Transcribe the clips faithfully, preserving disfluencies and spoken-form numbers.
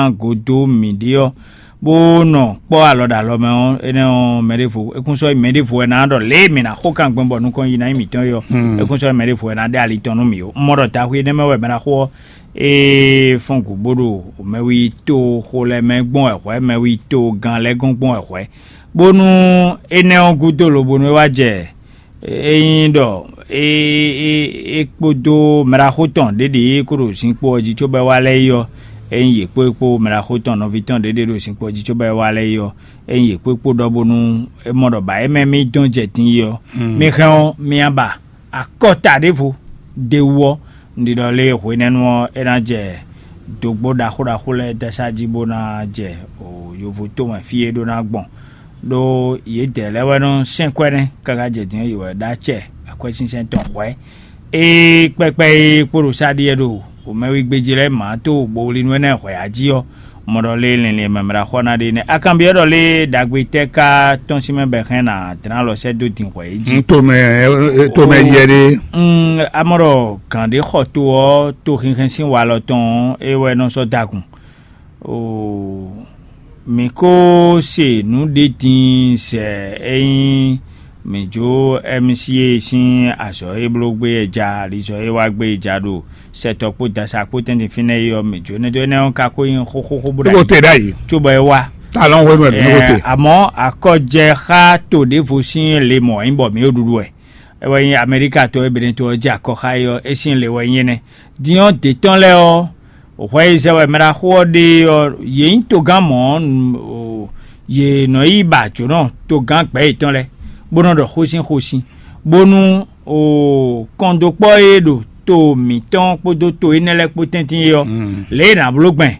godo mǐ ɖe ɔ́, bó nɔ kpɔ́ alɔ ɖo alɔ mɛ ɔ́, énɛ́ ɔ́, mɛ ɖěvo é kún sɔ́ nyí mɛ ɖěvo wɛ ná ɖɔ lě e mǐ ná xo kan gbɔn bɔ nukɔn yi ná nyí mǐtɔn é ɔ́, é kún sɔ́ nyí mɛ ɖěvo wɛ ná ɖe ali tɔn nú mǐ ó. Un mɔ ɖɔ daxwi énɛ́ mɛ wɛ mɛ ná xo ɔ́, é fɔ́n gǔ bó ɖo mɛwi to xo lɛ́ɛ mɛ gbɔn wɛ hwɛ̌, mɛwi to gán lɛ́ɛ gɔ́n gbɔn wɛ hwɛ̌, bónú énɛ́ ɔ́ gúdo lobonu é wá jɛ é nyí ɖɔ é é é kpódó mɛɖaxó tɔn ɖě ɖě e ko ɖo zinkpo ɔ́ jí cóbɔ é wá lɛ́ɛ é ɔ́, é nyí yě kpó é kpó mɛɖaxó tɔn nɔví tɔn ɖě ɖě ɖo zinkpo ɔ́ jí cóbɔ é wá lɛ́ɛ é ɔ́, é nyí yě kpó é kpó ɖɔ bónú é mɔ ɖɔ bǎ é mɛ mì dɔn jɛ din é ɔ́, mi hɛn ɔ́, mi nyi ba akɔta ɖěvo d'é wú ɔ́, un ɖi ɖɔ lé hwenɛ́nu ɔ́, é ná jɛ dǒgbó ɖaxó ɖaxó lɛ́ɛ dɛsá jí bó ná jɛ yovo tomɛ fí e é ɖó ná gbɔn, ɖó yědɛɛ lɛ́ɛ wɛ nɔ sɛn kwɛ́ nɛ́ káká jɛ din ɔ́, yě wɛ ɖó acɛ akwɛ́sinsɛn tɔn hwɛ̌. Ée kpɛkpɛ e kpo ɖo sá ɖíe ɖo wǒmɛwígbéjí lɛ́ɛ mǎ tó bowlinu énɛ́ hwɛ̌ á jí ɔ́, mɔ ɖɔ lé linlin e mɛmɛ ɖo axɔ ná ɖe nɛ́. A kanbyɔ́ ɖɔ lé ɖagbe tɛ́ ka tɔ́n sín mɛ bɔ è hɛn ná dlán alɔ sɛ́ dó din hwɛ̌ é jí? Tomɛ, tomɛ yɛ ɖé. A mɔ ɖɔ gǎn ɖé xɔ to ɔ́, to hinhɛn sín walɔ tɔn ɔ́, é wɛ nɔ sɔ́ dagun. Oo, mǐ ko se nǔ ɖé din sɛ é nyí mǐ jó M C A sín azɔ̌ e bló gbé e ja alizɔ̌ e wá gbé e ja ɖo sɛtɔ́ kpó dasa kpó tɛ́ntin fínɛ́ é ɔ́, mǐ jó nɛ́ dó énɛ́ ɔ́ ka ko nyí xóxóxó bó ɖo te ɖ'ayǐ, cóbɔ é wá. Ta lɔn hwenu wɛ mǐ nɔ ko te. Amɔ̌ akɔjɛ xá to ɖěvo sín le mɔ̌ nyí bɔ mǐ ɖo ɖuɖu wɛ. É wɛ nyí Amɛlíka to e Benɛto ɔ́ jɛ akɔ xá é ɔ́, é sín le wɛ nyí énɛ́. Din ɔ́, dě tɔn lɛ́ɛ ɔ́, hwɛ e zɛ wɛ mɛ ɖaxó ɔ́ ɖe ɔ́, yě nyí togán mɔ̌, yě nɔ yi ba jǒnɔ togán gbɛ̌ yětɔn lɛ́ɛ, bó nɔ ɖɔ xósin xósin, bónú kɔndókpɔ́ e ɖo to mǐtɔn kpódó to énɛ́ lɛ́ɛ kpó tɛ́ntin é ɔ́, lě e è nǎ bló gbɛn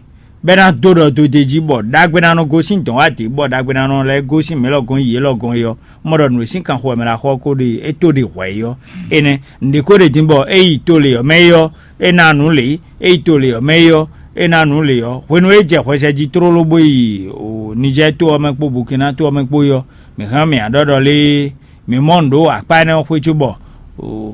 bɔ é ná dó ɖɔ dó d'é jí, bɔ ɖagbe ná nɔ gosín dɔ̌n wá dě, bɔ ɖagbe ná nɔ lɛ́ gosín mɛ̌ lɔgɔn yi yě lɔgɔn é ɔ́, mɔ ɖɔ nǔ e sín kanxo wɛ mɛ ɖo axɔ ɔ́ ko ɖe é tó ɖe hwɛ̌ é ɔ́, énɛ́ nǔɖé ko ɖe din bɔ é yi to lě ɔ́ mɛ é ɔ́, é ná nǔ lě; é yi to lě ɔ́ mɛ é ɔ́, é ná nǔ lě ɔ́. Hwenu e é jɛ hwɛsɛ jí tlóló bó yi Nijɛ́ɛ to ɔ́ mɛ kpó Bukina to ɔ́ mɛ kpó é ɔ́, mǐ hɛn mǐ ɖɔ ɖɔ lé mǐ mɔ nǔ ɖó akpá énɛ́ ɔ́ xwé cóbɔ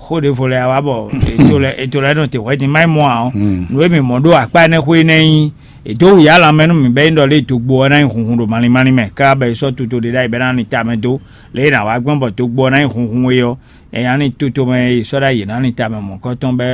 xó ɖěvo lɛ́ɛ wá bɔ è to lɛ́ è to lɛ́ nɔ te hwɛ̌ din má nyí mɔ ǎ ɔ́, nǔ e mǐ mɔ ɖó akpá énɛ́ xwé énɛ́ nyí è dǒ wǔyá lanmɛ nú mǐ bɔ é nyí ɖɔ lě dogbo ɔ́ ná nyí hunhun ɖo malín málín mɛ, káká bɔ è sɔ́ toto ɖé ɖ'ayǐ bɔ é ná lin tamɛ dó. Lě e è nǎ wá gbɔn bɔ dogbo ɔ́ ná nyí hunhun é ɔ́, è nǎ lin toto mɛ e è sɔ́ ɖ'ayǐ è nǎ lin tamɛ mɔ̌kɔ́tɔn bɔ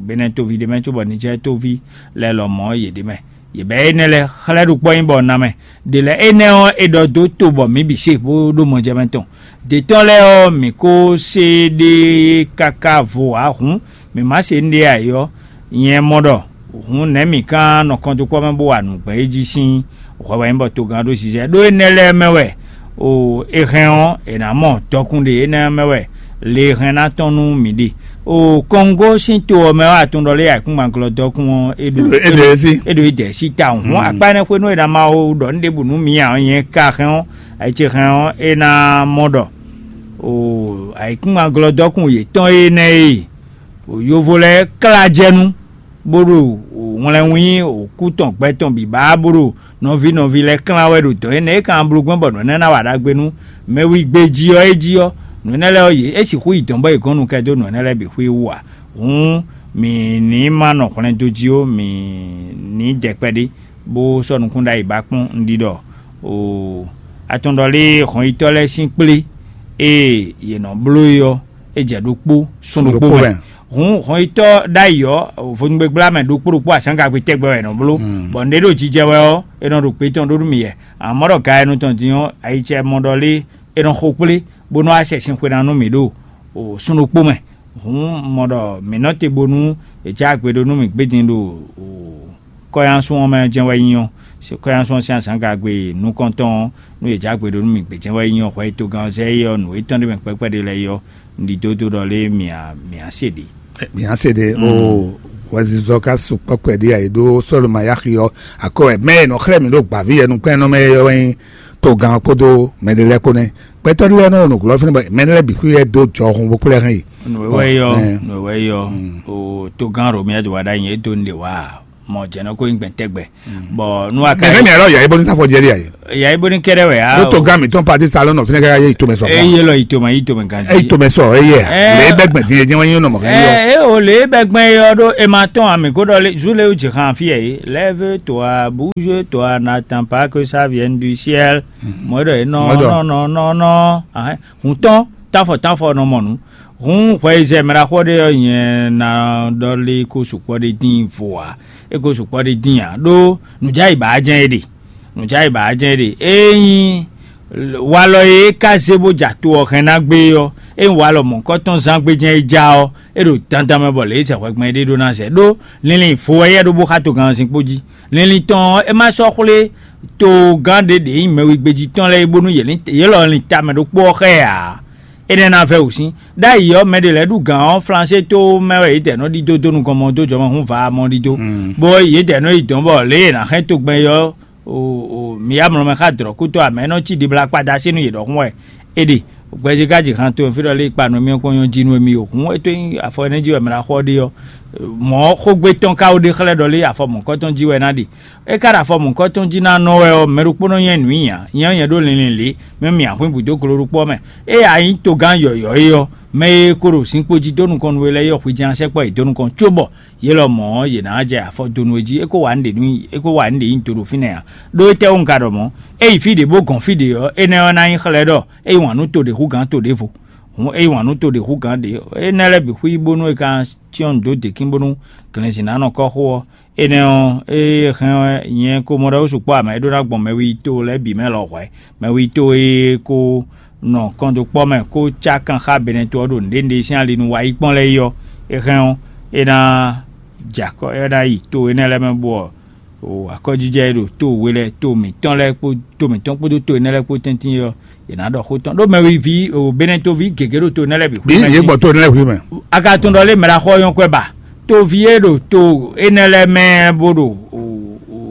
Benɛ́ tóví ɖé mɛ cóbɔ Nijɛ́ɛ tóví lɛ́ɛ lɔmɔ̌ yě ɖ'é mɛ. Yě bɛ́ énɛ́ lɛ́ɛ xlɛ́ ɖokpɔ́ nyí bɔ ná mɛ. Ɖě lɛ́ɛ énɛ́ ɔ́, è ɖɔ dó to bɔ mǐ bǐ se bó ɖó mɔjɛmɛ tɔn. Dě tɔn lɛ́ɛ ɔ́, mǐ ko se ɖe káká vo ǎ hǔn, mǐ má se nǔɖé ǎ é ɔ́, nyɛ mɔ ɖɔ hǔn nɛ̌ mǐ ka nɔ kɔntókpɔ́ mɛ bó wa nǔ gbɛ́ é jí sín hwɛ wɛ nyí bɔ togán ɖó zizɛ ɖó énɛ́ lɛ́ɛ mɛ wɛ. O, è hɛn ɔ́, è nǎ mɔ dɔkun ɖe énɛ́ mɛ wɛ le e hɛn ná tɔn nú mǐ ɖe. O, Kɔngó sín to ɔ́ mɛ wɛ atún ɖɔ lé ayǐkúngban glɔ́ dɔkun ɔ́, é ɖo é ɖo é sí. É ɖo é dɛ̌ sí ta hǔn akpá énɛ́ xwénú e ná ma wo ɖɔ nú ɖěbǔ nú mǐ ǎ ɔ́, nyɛ ka hɛn ɔ́, ayǐ ce hɛn ɔ́, é ná mɔ ɖɔ o ayǐkúngban glɔ́ dɔkun yětɔn énɛ́ e o yovo lɛ́ɛ klá jɛ nú bó ɖo wlɛnwín òkú tɔn gbɛ tɔn bǐ ba bó ɖo nɔví nɔví lɛ́ɛ klán wɛ ɖo dɔ̌n énɛ́ e kan bló gbɔn bɔ nǔ énɛ́ ná wa ɖagbe nú mɛ wigbe jí ɔ́ é jí ɔ́, nǔ énɛ́ lɛ́ɛ ɔ́, yě é sixú yi dɔ̌n bɔ è gɔ́n nu kɛ dó nǔ énɛ́ lɛ́ɛ bǐ xwé wú ǎ. Hǔn mǐ ní ma nɔ hwlɛndo jí ó, mǐ ní dɛ kpɛɖé bó sɔ́ nukún ɖ'ayǐ ba kpɔ́n un ɖi ɖɔ oo, atɔn ɖɔ lé hɔnyitɔ́ lɛ́ɛ sín kplé e yě nɔ bló é ɔ́, é jɛ ɖokpó sún ɖokpó mɛ. Hǔn hɔnyitɔ́ ɖ'ayǐ ɔ́, vodúngbégbla mɛ ɖokpó ɖokpó azǎngagbe tɛgbɛ wɛ è nɔ bló, bɔ nǔɖé ɖo jijɛ wɛ ɔ́, è nɔ ɖo gbě tɔn ɖó nú mì yɛ. Amɔ̌ ɖɔ ga e nɔ tɔn din ɔ́, ayicɛ mɔ ɖɔ lé è nɔ xo kplé bó nɔ́ wá sɛ sin xwe ná nú mǐ ɖo sún ɖokpó mɛ. Hǔn mɔ ɖɔ mǐ nɔ te bónú è jɛ agbe ɖó nú mǐ gbé din ɖo kɔ́yánsun ɔ́ mɛ jɛ́n wɛ nyí ɔ́, kɔ́yánsun ɔ́ sín azǎngagbe nukɔntɔn ɔ́, nú è jɛ agbe ɖó nú mǐ gbé jɛ́n wɛ nyí ɔ́, hwɛ e togán ɔ́ zɛ é ɔ́, nǔ étɔn ɖé mɛ kpɛ́kpɛ́ ɖé lɛ́ɛ é ɔ́, un ɖi dó ɖɔ lé mǐ a mǐ a se ɖě. Mǐ a se ɖě o, hwɛzizɔ ka su kpɔ́kpɛ ɖé a è ɖó sɔ́lɔmayaxi ɔ́ akɔ wɛ mɛ e nɔ xlɛ́ mǐ ɖo gbǎví yɛnukpɛ́nnɔ mɛ é ɔ́ wɛ nyí togán ɔ́ kpódó mɛɖé lɛ́ɛ kpó nɛ́. Gbɛtɔ́ ɖé lɛ́ɛ nɔ ɖo nǔglɔ́ fínɛ́ bɔ mɛɖé lɛ́ɛ bǐ xwí wɛ dó jɔhun bó kplɛ́ hɛn yi. Nǔ e wɛ yɔ, nǔ e wɛ yɔ, o togán Romia de wa ɖ'ayǐ é dó nɖe wá. Mɔ jɛnɔ ko nyí gbɛn tɛgbɛ. Bɔ nu wa ka mɛ mi alɔ yà ibo ní sáfɔ jẹrí ayé. Yà ibo ní kɛɖɛ wɛ ya. Ló tó gán mi tún pati salon nọ fínɛ ká yé ìtòmẹ sọ. Eye lɔ ìtòmɛ ìtòmɛ kan. Eye ìtòmẹ sọ eye. Lè bẹ gbẹ̀dì yé jẹ́ wọ́n yín nọ mọ̀ kí yọ. Ẹ ẹ o lè bẹ gbẹ yọ ɖó e ma tɔn àmì kó ɖɔ lé zu lé o jì hàn fi ẹ yìí. Lève toi, bouge toi, n'attends pas que ça vienne du ciel. Mɔ ɖɔ e nɔ nɔ nɔ nɔ nɔ. Hun tɔn tafɔ tafɔ nɔ mɔ nu. Hun hwɛ yi zɛ mɛ ɖaxó ɖé ɔ́ nyɛ ná ɖɔ lé kó sukpɔ ɖé dín vo ǎ. É kó sukpɔ ɖé dín ǎ ɖó nǔjáyi bǎ jɛ́n é ɖe. Nǔjáyi bǎ jɛ́n é ɖe. Ényí walɔ e é ka zé bó ja to ɔ́ hɛn ná gbé ɔ́, ényí walɔ mɔ̌kɔtɔn zán gbé jɛ́n é ja ɔ́, é ɖo dandan mɛ bɔ lě e zɛ hwɛgbɛn é ɖe ɖó ná zɛ ɖó linlin vo wɛ yɛ ɖó bó xá togannzin kpó jí. Linlin tɔn ɔ́, é má sɔ́ xwlé togán ɖé ɖě nyí mɛwigbejí tɔn lɛ́ɛ é bónú yě lin- yě lɔ lin tamɛ ɖokpó ɔ́ xá ɛ ǎ. Énɛ́ ná vɛ́ wǔ sín. Ɖ'ayǐ ɔ́, mɛ ɖě lɛ́ɛ ɖu gǎn ɔ́, Flansé tó mɛ wɛ yě dɛ nɔ ɖidó dó nukɔn mɔ dó jɔmɔhún va mɔ ɖidó, bó yě dɛ nɔ yi dɔn bɔ lě e è nǎ xɛ́n togbɛ́n é ɔ́, mǐ yá mlɔ mɛ xá dlɔ̌kútɔ́ amɛ nɔ cí ɖibla kpada sí nú yě ɖɔhun wɛ. É ɖe gbɛzí ká ji han to fí ɖɔ lé kpa nɔ mì kɔn nyɔ́ jí nú émí o. Hǔn é tó nyí afɔ énɛ́ jí wɛ mɛ ná xɔ ɖe ɔ́, mɔ̌ xógbé tɔn ka ó ɖe xlɛ́ ɖɔ lé afɔ mɔ̌kɔtɔn jí wɛ ná ɖe. É ka ɖo afɔ mɔ̌kɔtɔn jí ná nɔ wɛ ɔ́, mɛ ɖokpónɔ nyɛ nǔ nyi ǎ, nyɛ ɔ́ nyɛ ɖó linlin lě, mɛ mì ahwín bǔ dó glo ɖokpó ɔ́ mɛ. Ée a nyí togán yɔ̌yɔ́ é ɔ́, mɛ e ko ɖo zinkpo jí dó nukɔn nú we lɛ́ɛ é ɔ́, hwi jɛ́n a sɛkpɔ́ yě dó nukɔn, cóbɔ yě lɔmɔ̌ ɔ́, yě ná jɛ afɔ dó nú we jí, é kó wa nǔɖé nú é kó wa nǔɖé nyi do ɖo fínɛ́ ǎ. Ɖó étɛ́wú un ka ɖɔ mɔ̌? É yi fí ɖě bó gɔn fí ɖě ɔ́, énɛ́ ɔ́ ná nyí xlɛ́ ɖɔ é yi wǎn nú to ɖě hú gǎn to ɖěvo. Hǔn é yi wǎn nú to ɖě hú gǎn ɖě, énɛ́ lɛ́ɛ bǐ xwí bónú è ka cyɔ́n nǔ dó děkín bónú glɛ̌nzǐn ná nɔ kɔ́ xó ɔ́. Énɛ́ ɔ́, ée é hɛn ɔ́, nyɛ ko mɔ ɖɔ ó sukpɔ́ amɛ e ɖó ná gbɔn mɛ wi to lɛ́ɛ bǐ mɛ lɔ hwɛ̌. Mɛ wi to e ko nɔ kɔndokpɔ́ mɛ kó cá kan xá Benɛto ɔ́ ɖo nǔɖé nǔɖé sín ali nu wá yi kpɔ́n lɛ́ɛ é ɔ́, é hɛn ɔ́, é ná jɛ akɔ é ná yi to énɛ́ lɛ́ɛ mɛ bɔ akɔjijɛ e ɖo to we lɛ́ɛ to mǐtɔn lɛ́ɛ kpó to mǐtɔn kpódó to énɛ́ lɛ́ɛ kpó tɛ́ntin é ɔ́, yě ná ɖɔ xó tɔn ɖó mɛwiví Benɛtoví gěgé ɖo to énɛ́ lɛ́ɛ bǐ xwé mɛ yě sín. Gbɔ to énɛ́ lɛ́ɛ xwé mɛ. A ka tunwun ɖɔ lé mɛ ɖo axɔ nyɔ́ kwɛ ba? Toví e ɖo to énɛ́ lɛ́ɛ mɛ bó ɖo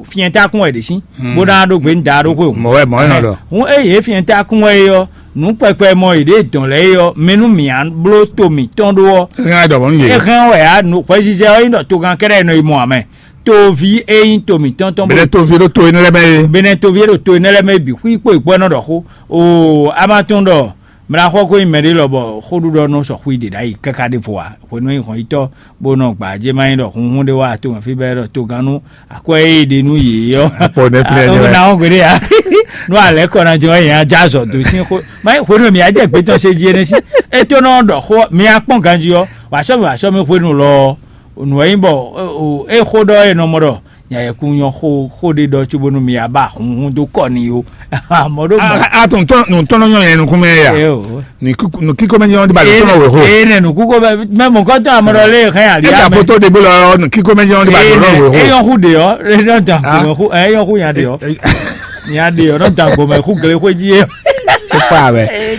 fyɛntákun wɛ ɖě sín, bó ná ɖó gbe nǔ da ɖó xwé o. Mɔ̌ wɛ mɔ̌ é nɔ ɖɔ. Hǔn eye é fyɛntákun wɛ é ɔ́, nǔ kpɛkpɛ mɔ yě ɖě dɔn lɛ́ɛ é ɔ́, mɛ nú mǐ á bló to mǐtɔn ɖó ɔ́. É hɛn wɛ ɖɔ mɔ̌ nú yě. É hɛn wɛ á, nǔ hwɛzizɛ ɔ́ nyí ɖɔ togan kɛ́ɖɛ́ nɔ yi mɔ ǎ mɛ. Toví e nyí to mǐtɔn tɔn bó Bɛlɛ toví ɖo to énɛ́ lɛ́ɛ mɛ é. Benɛ toví e ɖo to énɛ́ lɛ́ɛ mɛ é bǐ xwí kpó yi kpó ɛ nɔ ɖɔ xó. Oo, a ma tunwun ɖɔ mɛ ná xɔ ko nyí mɛɖé lɔ bɔ xóɖuɖɔ nɔ sɔ xwí ɖě ɖ'ayǐ káká ɖěvo ǎ. Hwenu e nyí hɔnyitɔ́ bó nɔ gbǎ jɛ má nyí ɖɔ hunhun ɖé wá to mɛ fí bɛ́ ɖɔ togannú akwɛ́ e ɖe nú yě ɔ́. Akpɔ nɛ́ flɛ́ jɛ. Ná wɔn gbeɖé ya. Nú alɛ kɔ ná jɛ wá yẹn ajá azɔ dó sín xó. Má nyí hwenu e mǐ á jɛ gbé tɔn se jí énɛ́ sí. É tó nɔ ɖɔ xó mǐ á kpɔ́n ganjí ɔ́, wǎ sɔ́ mǐ wǎ sɔ́ mí hwenu lɔ. Nǔ e nyí bɔ é xó ɖɔ e nɔ mɔ ɖɔ nyayɛkun nyɔ xó xó ɖé ɖɔ cóbónú mi ya ba hunhun dó kɔ n'i ó. Mɔ ɖó mɔ. A tún tɔn nù tɔn nyɔ yẹn nukún mɛ ya. Eo. Nù kíkó mɛ nyɔ ba lè tɔn wɛ xó. Ee nɛ nukún kó mɛ mɛ mɔ kɔtɔ amɔ ɖɔ lé hɛn ali. E ta foto de bolo nù kíkó mɛ nyɔ ba lè tɔn wɛ xó. Eyɔn xú de ɔ, eyɔn dan gbɔmɛ xú, eyɔn xú yan de ɔ. Yan de ɔ, nɔ dan gbɔmɛ xú gele xó jí yɛ.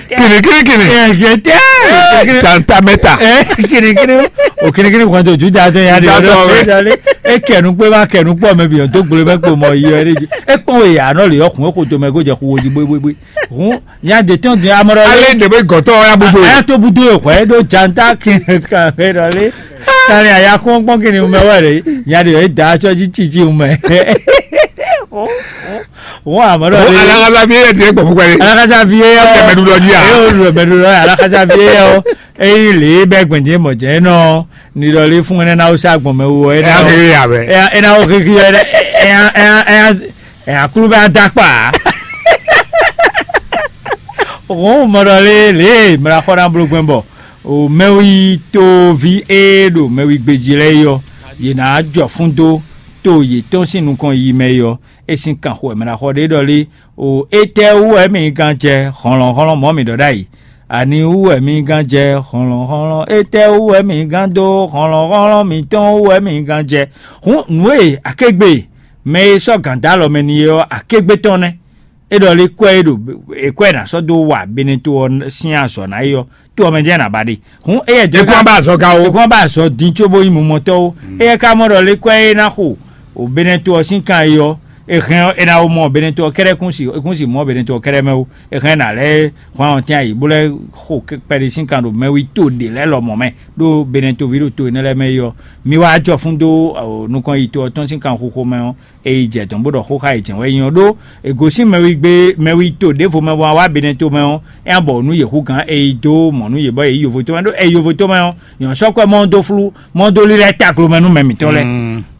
Kini kini kini. Ɛ jɛ tɛ. Tanta mɛta. Ɛ kini kini. O kini kini kɔn to ju da tɛ yan de ɔ. E kɛnu kpé ma kɛnu kpɔ mɛ bi ɔ do gble mɛ kpo mɔ yi ɔ. E kpɔn we ya nɔ le ɔ kun e ko to mɛ ko jɛ xu wo ji bwe bwe bwe. Hun nya de tɔn de amɔ ɖɔ. Ale de be gɔtɔ ya budo. A ya to budo ye xɔ e do janta kini kan e ɖɔ le. Kani a ya kɔn kpɔn kini mɛ wɛ le. Nya de e da atsɔ ji titi mɛ. Wọ́n àmọ́ náà ní. Alákatá fi yẹ tiẹ̀ gbọ̀ fún pẹ́lẹ́. Alákatá fi yẹ ọ́. Ẹ mẹ́nu lọ jí a. Ẹ yóò lọ mẹ́nu lọ alákatá fi yẹ ọ́. Eyín lè bẹ́ gbẹ̀njẹ́ mọ̀ jẹ́ náà ní lọ lé fún ẹnẹ́ náà ó sá gbọ̀n mẹ́ wọ ẹnẹ́ Ẹ náà. Á fi yà bẹ́. Ẹ náà ó kékeré ẹ ẹ ẹ ẹ akúlú bá dá kpa. Òun mọ̀ lọ lé lè mìíràn kọ́ náà bolo gbẹ́ bọ̀. O mɛwi toví e ɖo mɛwi gbejí lɛ́ɛ yɔ, yě ná jɔ fún dó to yětɔn sín nukɔn yi mɛ yɔ. É sín kanxo wɛ mɛ ná xɔ ɖé ɖɔ lé. O étɛ́ wú wɛ mi gán jɛ hlɔ̌nhlɔ́n mɔ̌ mi ɖɔ ɖ'ayǐ? Ani wú wɛ mi gán jɛ hlɔ̌nhlɔ́n? Étɛ́ wú wɛ mi gán dó hlɔ̌nhlɔ́n mǐtɔn wú wɛ mi gán jɛ? Hǔn nǔ e akégbé mɛ e sɔ́ gǎn dó alɔ mɛ n'i é ɔ́, akégbé tɔn nɛ́. É ɖɔ lé kwɛ́ e ɖo è kwɛ́ è nǎ sɔ́ dó wa Beneto ɔ́ sín azɔ̌ ná é ɔ́, to ɔ́ mɛ jɛ́n è nǎ ba ɖe. Hǔn éyɛ́ jɛ Ekún ba azɔ̌ ga ó. Ekún ba azɔ̌ dín cóbó nyí mumɔtɔ́ ó. Éyɛ́ ka mɔ ɖɔ lé kwɛ́ e ná xo o Beneto ɔ́ sín kan é ɔ́, È hɛn ɔ́, è nǎ wó mɔ Benɛto ɔ́ kɛ́ɖɛ́ kún si, kún si mɔ Benɛto ɔ́ kɛ́ɖɛ́ mɛ ó. È hɛn ná lɛ́ hwan ɔ́ tɛ́n ayǐ bó lɛ́ xo kpɛɖé sín kan ɖo mɛwi to ɖě lɛ́ɛ lɔmɔ̌ mɛ, ɖó Benɛto ví ɖo to énɛ́ lɛ́ɛ mɛ é ɔ́, mi wá jɔ fún dó nukɔn yi to ɔ́ tɔn sín kanxixo mɛ ɔ́, è yi jɛ dɔ̌n bó ɖɔ xó xá yě jɛ́n wɛ é nyí ɔ́. Ɖó è gosín mɛwi gbe, mɛwi to ɖěvo mɛ bɔ wá Benɛto mɛ ɔ́, é ná bɔ nǔ yě hú gǎn, è yi dó mɔ nú yě bɔ yě yi yovo to mɛ. Ɖó è yi yovo to mɛ ɔ́, nyɔ̌ sɔ́ kwɛ́ mɔ dó flú, mɔ dó lílɛ́ taklomɛ nú mɛ mǐtɔn lɛ́ɛ.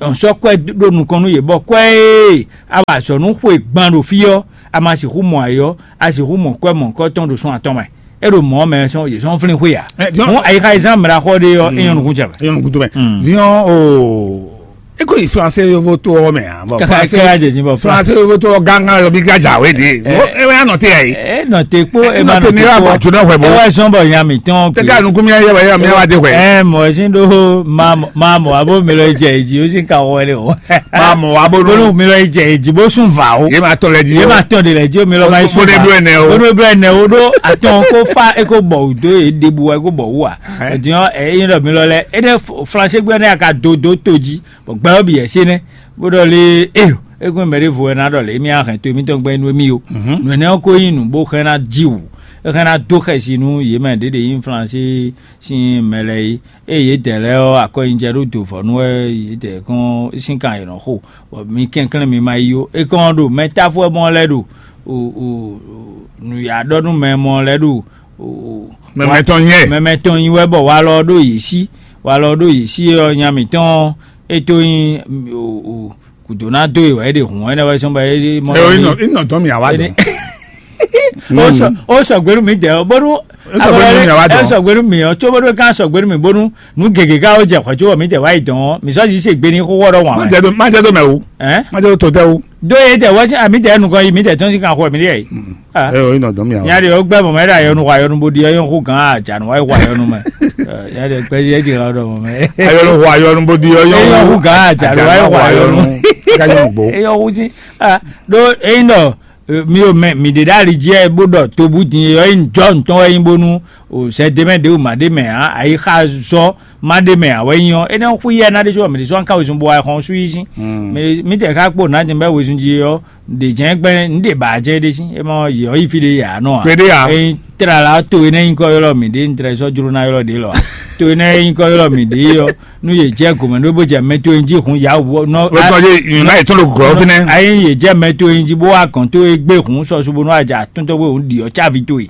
Nyɔ̌ sɔ́ kwɛ́ ɖó nukɔn nú yě bɔ kwɛ́ e a wa azɔ̌ nú xwe gban ɖo fí ɔ́, a ma sixú mɔ ayǐ ɔ́, a sixú mɔ kwɛ́ mɔ̌hunkɔtɔn ɖo sɔ́n atɔn mɛ. É ɖo mɔ̌ mɛ sɔ́ yě sɔ́ flín xwé ǎ. Hǔn ayixayizán mɛ ɖaxó ɖé ɔ́, é nyɔ́ nukún jɛ mɛ. É nyɔ́ nukún jɛ mɛ. Din ɔ́, o, é ko yi Flansé yovo to ɔ́ mɛ ǎ. Bɔ Kaka Flansé kaka jɛ din bɔ Flansé yovo to ɔ́ gángan yɔ bí ká jà wé dé. É wɛ anɔ te yɛ yi. É nɔ te kpó é ma nɔ te kpó. Ní wàá bàtú náà hwɛ bó. É wɛ sɔn bɔ nya mǐtɔn. Tẹ́tẹ́ ànukún mi yẹ wà yẹ mi wá dé hwɛ. Ɛ mɔ sin ɖó ma mɔ abo mi lɔ jɛ èjì ó sì ka wɔ lé o. Ma mɔ wá bó bónú nú. Mi lɔ jɛ èjì bó sún vǎ o. Yé ma tɔn lɛ jí. Yé ma tɔn de lɛ jí o mi lɔ ma yi sún vǎ. Bónú blɛ nɛ o. Bónú blɛ nɛ o ɖó atɔn kó fa é kó bɔ wò dó é ɖebu wá é kó bɔ wú wa. Ɛdiɔn ɛ yín ɖɔ mi lɔ lɛ é ɖe Flansé gbé ɔ́ nɛ aka do dó to jí bɔ gbɛ ɔ́ bǐ yɛ sé nɛ bó ɖɔ lé é é kún mɛ ɖěvo wɛ ná ɖɔ lě émí á hɛn to émítɔn gbɛ́ nú émí o. Nǔ énɛ́ ɔ́ ko nyí nǔ bó xlɛ́ ná jí wǔ, é xlɛ́ ná dó xɛsi nú yě mɛ ɖě ɖě nyí Flansé sín mɛ lɛ́ɛ é. Ée yědɛɛ lɛ́ɛ ɔ́, akɔnyijɛ ɖó do vɔ̌ nú wɛ yědɛɛ kɔn sín kan yě nɔ xo, bɔ mi kɛnklɛ́n mi ma yi ó. É kɔn ɔ́ ɖo mɛ táfú wɛ mɔ lɛ́ɛ ɖo nǔyá ɖɔ nú mɛ mɔ lɛ́ɛ ɖo Mɛmɛ tɔn nyí ɛ. Mɛmɛ tɔn nyi wɛ bɔ walɔ ɖó yě sí, walɔ ɖó yě sí ɔ́ nya mǐtɔn é tó nyí gǔdo ná dó e wɛ é ɖe hǔn ɛnɛ wɛ sɔn bɔ é ɖe mɔ. Ɛ o, inɔ inɔ dɔn mi awa dɔn. Ó sɔ ó sɔgbe nú mi dɛ ɔ bónú. É sɔgbe nú mi awa dɔn. É sɔgbe nú mi ɔ tso bónú ká sɔgbe nú mi bónú nú gěgé ká ó jɛ xɔ tso wɔ mi dɛ wá yi dɔn ɔ mi sɔ yí se gbe ní xó wɔ ɖɔ wàn. Má jẹ tó má jẹ tó mɛ o. Ɛ má jẹ tó tó tɛ o. Dó ye tɛ wɔ sí àmì tɛ nukɔ yi mi tɛ tɔn sí kan xɔ mi ɖe yìí. Ɛ o inɔ dɔn mi awa. Nya de o gbɛ mɔ mɛ ɖe ayɔnu xɔ ayɔnu bo di ɔyɔn xó gan ajanu wa yi xɔ ayɔnu mɛ. Nya de gbɛ yɛ di la dɔ mɔ mɛ. Ayɔnu xɔ ayɔnu bo di ɔyɔn xó gan ajanu wa yi xɔ ayɔnu. Gayɔn gbo. Eyɔ xó sí. Ɖó eyín ɖɔ mi ò mɛ mi ɖe ɖ'ali jí ɛ bó ɖɔ tobu din eyɔ yi jɔ ntɔn wɛ nyi bónú o sɛ de mɛ ɖe o ma ɖe mɛ ǎ ayixa zɔ ma ɖe mɛ ǎ wɛ nyi ɔ́ énɛ́ xú yɛ ná ɖe có mɛ ɖe sɔ́ ká wezun bo wa xɔn sú yi sín. Mɛ mítɛ ká kpó nǎ din bɛ wezun jí ɔ́ ɖe jɛn gbɛn ní ɖe ba jɛ ɖe sín é ma yɔ yi fi ɖe yà nɔ ǎ. Kpeɖé ǎ. Eyin tlala to énɛ́ nyí kɔ ylɔ́ mǐ ɖe un tlɛ sɔ́ jló ná ylɔ́ ɖě lɔ ǎ. To énɛ́ nyí kɔ ylɔ́ mǐ ɖě ɔ́ nú yě jɛ gǒmɛ ɖó bó jɛ mɛ to nyi jí hun yǎ wǔ nɔ. Wetɔn yé yìnyín náà yě tún ɖo gɔ̌ fínɛ́. Ayi yě jɛ mɛ to nyi jí bó wá gɔ̌n tó é gbé hun sɔ su bónú a jɛ atún tó gbé hun ɖi ɔ́ cávi towe.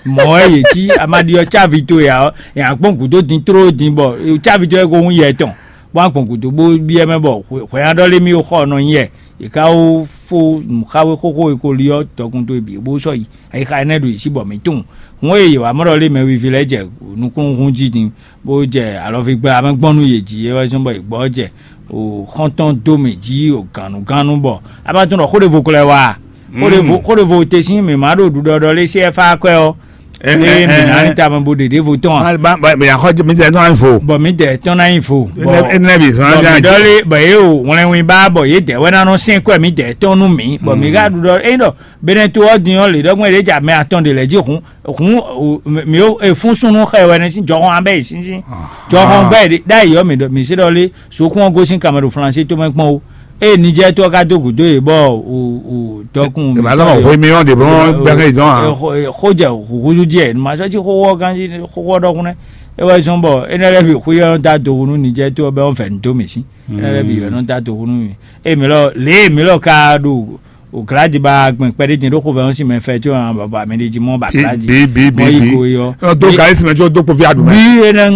Mɔ̌ wɛ yě cí a ma ɖi ɔ́ cávi towe ǎ ɔ́ yě ná gbɔn gǔdo din tló din bɔ cávi towe ko hun yɛ tɔn bó wá gbɔn gǔdo bó byɔ́ mɛ bɔ hwɛ̌ ná ɖɔ lé mì xɔ nɔ nyi yɛ. Yě ká wó fó nǔxáwé xóxó e ko li ɔ́ dɔkun towe bǐ bó sɔ́ yi ayixa énɛ́ ɖo yě sí bɔ mǐ tunwun. Hǔn e yě wá mɔ ɖɔ lé mɛ wiví lɛ́ɛ jɛ nukúnnú jí din bó jɛ alɔví gbla mɛ gbɔn nú yě jí é wɛ zɔ́n bɔ yě gbɔ jɛ o xɔ́ntɔn dó mì jí o gǎnnugánnu bɔ a ma tunwun ɖɔ xó ɖěvo ko lɛ́ wá a? Xó ɖěvo xó ɖěvo te sín mǐ ma ɖo ɖuɖɔɖɔ lé C F A kwɛ ɔ́. Eye mǐ ná ní tamɛ bo ɖe ɖěvo tɔn a? Mɛ yà xɔ mi tɛ tɔn vo. Bɔ mǐ dɛ tɔn ná nyi vo. Bɔ Enɛ bi zɔn bɔ ná mǐ dɔ lé bɔ yě o wlɛnwin ba bɔ yě dɛ wɛ ná nɔ sɛn kwɛ mǐ dɛ tɔn nú mǐ bɔ mǐ ka ɖu ɖɔ eyin ɖɔ Benɛto ɔ́ din ɔ́ lě ɖɔgbɔn yě ɖě ja mɛ atɔn ɖe lɛ́ jí hun hun mǐ o efún súnnu xɛ wɛ nɛ sín jɔhɔn abɛ yě sín sín jɔhɔn gbɛ ɖe ɖ'ayǐ ɔ́ mǐ ɖɔ mǐ sí ɖɔ lé sokún ɔ́ gosín Kamerun Flansé tomɛ kpɔn o. Eye Nijɛ́ɛ tɔn ka dó gǔdo yě bɔ dɔkun Ìbá lɔmɔ hwe mi ɔn ɖe bɔ gbɛxɛ zɔn a. Xó jɛ húzú jɛ numa sɔ́ cí xóxó ɔ́ gán cí xóxó ɔ́ ɖɔhun nɛ́. É wɛ zɔ́n bɔ énɛ́ lɛ́ɛ bǐ xwí ɔ́ nɔ́ dó adohu nú Nijɛ́ɛ tó ɔ́ bɔ é nɔ́ vɛ̌ nǔ dó mǐ sí. Énɛ́ lɛ́ɛ bǐ wɛ nɔ́ dó adohu nú mì. Ée mǐ lɔ lě e mǐ lɔ ka ɖo gladi ba gbɛn kpɛɖé din ɖó xovɛ́ ɔ́ sín mɛ fɛ có ɔ́ bɔ mɛ ɖé jí mɔ ba gladi. Mɔ yi go yi ɔ́. Dó gǎ ésì mɛ có dó kpoví aɖu mɛ. Bí énɛ́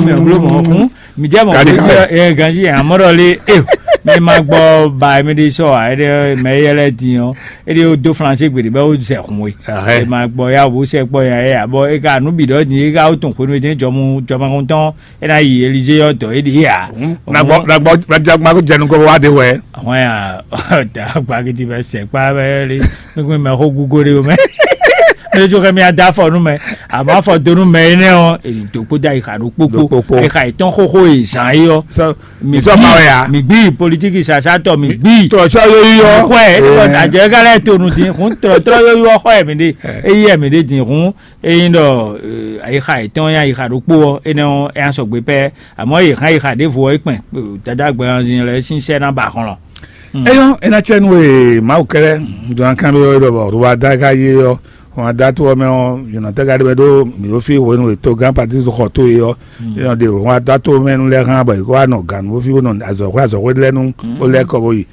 mɛ bló mɔ hún. Mi jẹ́ mọ̀ pé ẹ gan jí àmọ́ ɖɔ lé ẹ mi ma gbọ́ ba mi ɖi sɔ a ẹ mɛ yɛ lɛ din ɔ ẹ ɖi o do flanse gbede bɛ o zɛ hun we. Ẹ ma gbọ́ ya wo sɛ gbɔ ya ẹ abɔ ẹ ka nu bi dɔ din ẹ ka o tun xwenu ẹ jọmu jọmahun tɔn ẹ na yi Elize yɔ dɔ ẹ ɖi ya. Nagbɔ nagbɔ nagbɔ jẹnu kɔ wa de wɛ. Àwọn ya ọ̀tá gbagidi bɛ sɛ kpa bɛ lé nígbà mɛ xó gúgó de o mɛ. Ẹ jọ kɛ mi ada afɔ nu mɛ àmọ́ afɔ do nu mɛ ẹ nɛ ɔ èyí tó kpó dá ìhà ɖó kpókpó ìhà ìtɔn xóxó yìí zan yìí ɔ. Sọ mi sọ ma wẹ̀ ya. Mi gbi politiki sasatɔ mi gbi Tọ̀sọ́ yóò yọ. Xɔɛ ɛ tɔ àjẹ gálẹ̀ tó nu dín hún tọ̀tọ̀ yóò yọ xɔɛ mi ɖe eyi ɛ mi ɖe dín hún eyin ɖɔ ayixa yetɔn ya ayixa ɖokpó ɔ enɛ ɔ ɛ asɔgbe pɛ àmọ́ yìí hàn ayixa ɖěvo ɔ ikpɛn dada gbɛhanzin lɛ sín sɛ ná ba xɔlɔ. Eyɔ́ é ná cɛ nú e Mawu kɛ́lɛ́ dɔn kanɖó ɔ́ ɖɔ bɔ Rwanda ka yé ɔ́, Rwanda tó ɔ́ mɛ ɔ́, yɔ̌nɔtɛ́ ka ɖe mɛ ɖó mǐ ɖó fí hwenu e togán Patísi xɔ tó e ɔ́, é nɔ ɖe Rwanda tó mɛ nú lɛ́ɛ hán bɔ è ko wá nɔ gǎn nú fí bó nɔ azɔ̌xwé azɔ̌xwé lɛ́ɛ nú bó lɛ́ kɔ bó yi.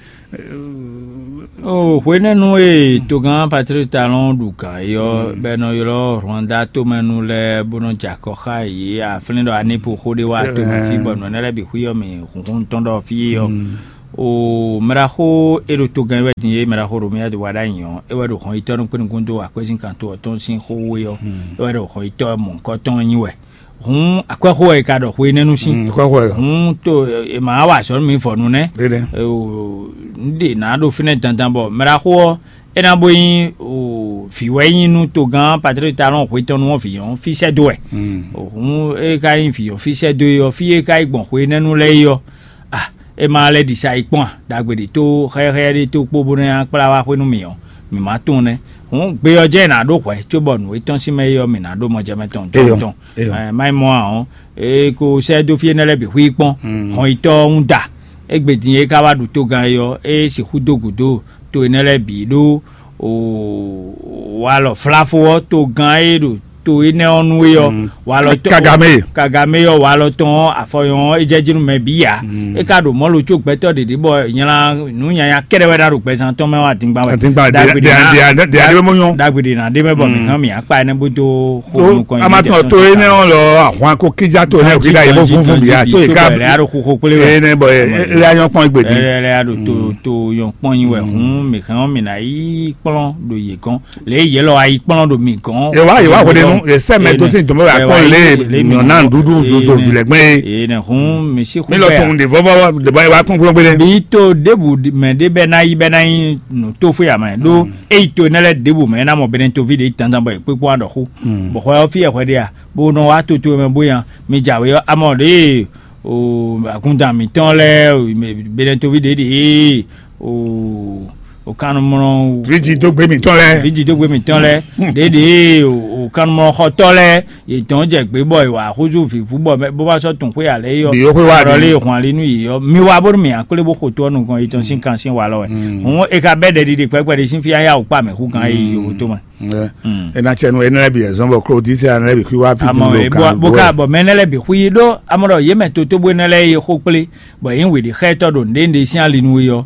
O hwenɛ́nu e togán Patrice Talon ɖu gǎn é ɔ́, bɔ è nɔ ylɔ́ Rwanda tomɛnu lɛ́ɛ bó nɔ jɛ akɔ xá yě aflín ɖɔ anípo xó ɖé wá to mɛ fí bɔ nǔ énɛ́ lɛ́ɛ bǐ xwí ɔ́ mì hǔnhún tɔn ɖɔ fí é ɔ́. O mɛɖaxó e ɖo togán é wɛ din é mɛɖaxó ɖo mía wa ɖ'ayǐ ɔ́, é wɛ ɖo hɔn yitɔ́ nukúnnukún dó akwɛ́zínkan to ɔ́ tɔn sín xó wú é ɔ́, é wɛ ɖo hɔn yitɔ́ mɔ̌hunkɔtɔn nyi wɛ. Hǔn akwɛ́xó wɛ è ka ɖɔ xwe énɛ́ nú sín. Xwɛxwɛ. Hǔn to è ma wa azɔ̌ nú mi vɔ nu nɛ́. Ɖeɖe. Un ɖe nǎ ɖo fínɛ́ dandan bɔ mɛɖaxó ɔ́ é ná bó nyí vǐ wɛ nyí nú togán Patrice Talon hwe tɔn nu ɔ́ vǐ ɔ́ fí sɛ́ dó wɛ. Hǔn é ka nyí vǐ ɔ́ fí sɛ́ dó é ɔ́ fí é ka yi gbɔn xwe énɛ́ nu lɛ́ɛ é ɔ́, a é ma lɛ́ ɖi sa yi kpɔ́n a? Ɖagbe ɖě tó xɛxɛ ɖé tó kpó bó ná kplá wá xwé nú mì ɔ́, mǐ ma tunwun nɛ́. Hǔn gbe ɔ́ jɛ́n è nǎ ɖó hwɛ̌ cóbɔ nǔ e tɔ́n sín mɛ é ɔ́ mǐ ná ɖó mɔjɛmɛ tɔn Eyɔ. Tɔn. Eyɔ. Má nyí mɔ ǎ ɔ́, é ko sɛ́ dó fí énɛ́ lɛ́ɛ bǐ xwí kpɔ́n hɔnyitɔ́ ɔ́ wún da. Égbé din e ka wá ɖu togán é ɔ́, é sixú dó gǔdo to énɛ́ lɛ́ɛ bǐ ɖó walɔ flafo ɔ́ togán e ɖo to énɛ́ ɔ́ nu é ɔ́, walɔ tɔn Kagame. Kagame ɔ́ walɔ tɔn ɔ́ afɔyɔn ɔ́ é jɛ jí nú mɛ bǐ ǎ. É ka ɖo mɔ̌ lo có gbɛtɔ́ ɖě ɖě bɔ nyla nǔ nyanya kɛ́ɖɛ́ wɛ ɖa ɖo gbɛzán tɔn mɛ wá dingban wɛ. Dingban ɖe ɖe ɖe ɖe ɖe ɖe mɔ nyɔ. Dagbe ɖe nǎ ɖe mɛ bɔ mi hàn mi akpa ɛnɛ bó dó xo nukɔn. Ama tɔn to énɛ́ ɔ́ lɔ ahwan ko kíjá to énɛ́ òkè ɖa yìí bó fúnfún bìyà tó yìí ká. Lɛ aɖo xixo kpélé wɛ. Énɛ́ bɔ lɛ anyɔ kpɔn gbèdé. Lɛ aɖo to to yɔn kpɔn nyi wɛ hun mi hàn mi nà yí kplɔn ɖo yě gɔn lě yě lɔ ayi kplɔn ɖo mi gɔn. Yewa yewa ko de nu esɛ mɛ tó sin tɔmɔ wa kpɔn lé nyɔna ɖuɖu zozo vilɛ gbɛn ye. Ene hun mi si mi lɔ tɔn de vɔvɔ de bɔ yewa kpɔn kpɔn gbɛdɛ. Bi to debu mɛ de bɛ na yi bɛ na yi nu to fo ya mɛ ɖo eyi to ne lɛ debu mɛ na mɔ bɛnɛ tovi de tantan bɔ ekpe kpɔn aɖɔ xo bɔ xɔ yɔ fi yɛ xɔ de ya bo nɔ wa to to mɛ bo yan mi dza we yɔ amɔ de o agundan mitɔn lɛ bɛnɛ tovi de de o o kannumlɔ Fiji dó gbé mǐtɔn lɛ. Fiji dó gbé mǐtɔn lɛ ɖeɖe o kannumlɔ xɔtɔ lɛ yě tɔn jɛ gbé bɔ yě wá xúzú vǐvú bɔ bó bá sɔ́ tún xwé alɛ yɔ Bǐ yó xwé wá ɖɔ lé hwan lé nú yě yɔ mi wá bónú mǐ akplé bó xo tó ɔ́ nukɔn yě tɔn sín kan sín wa lɔ wɛ hǔn é ka bɛ́ ɖɛɖiɖi kpɛkpɛ ɖé sín fí ayá wò kpá mɛ hú kan é yi yòwó tó mɛ. Ena cɛ nu ena lɛ bi ɛzɔn bɔ klodisi ana lɛ bi xwi wa fi amɔ tun lo e bɔ kan bó ka bɔ mɛ ne lɛ bi xwi ɖó amɔ ɖɔ yé mɛ toto bó ne lɛ ye xó kplé bɔ yín wě ɖi xɛtɔ ɖo nɖénɖé sín ali nu yɔ.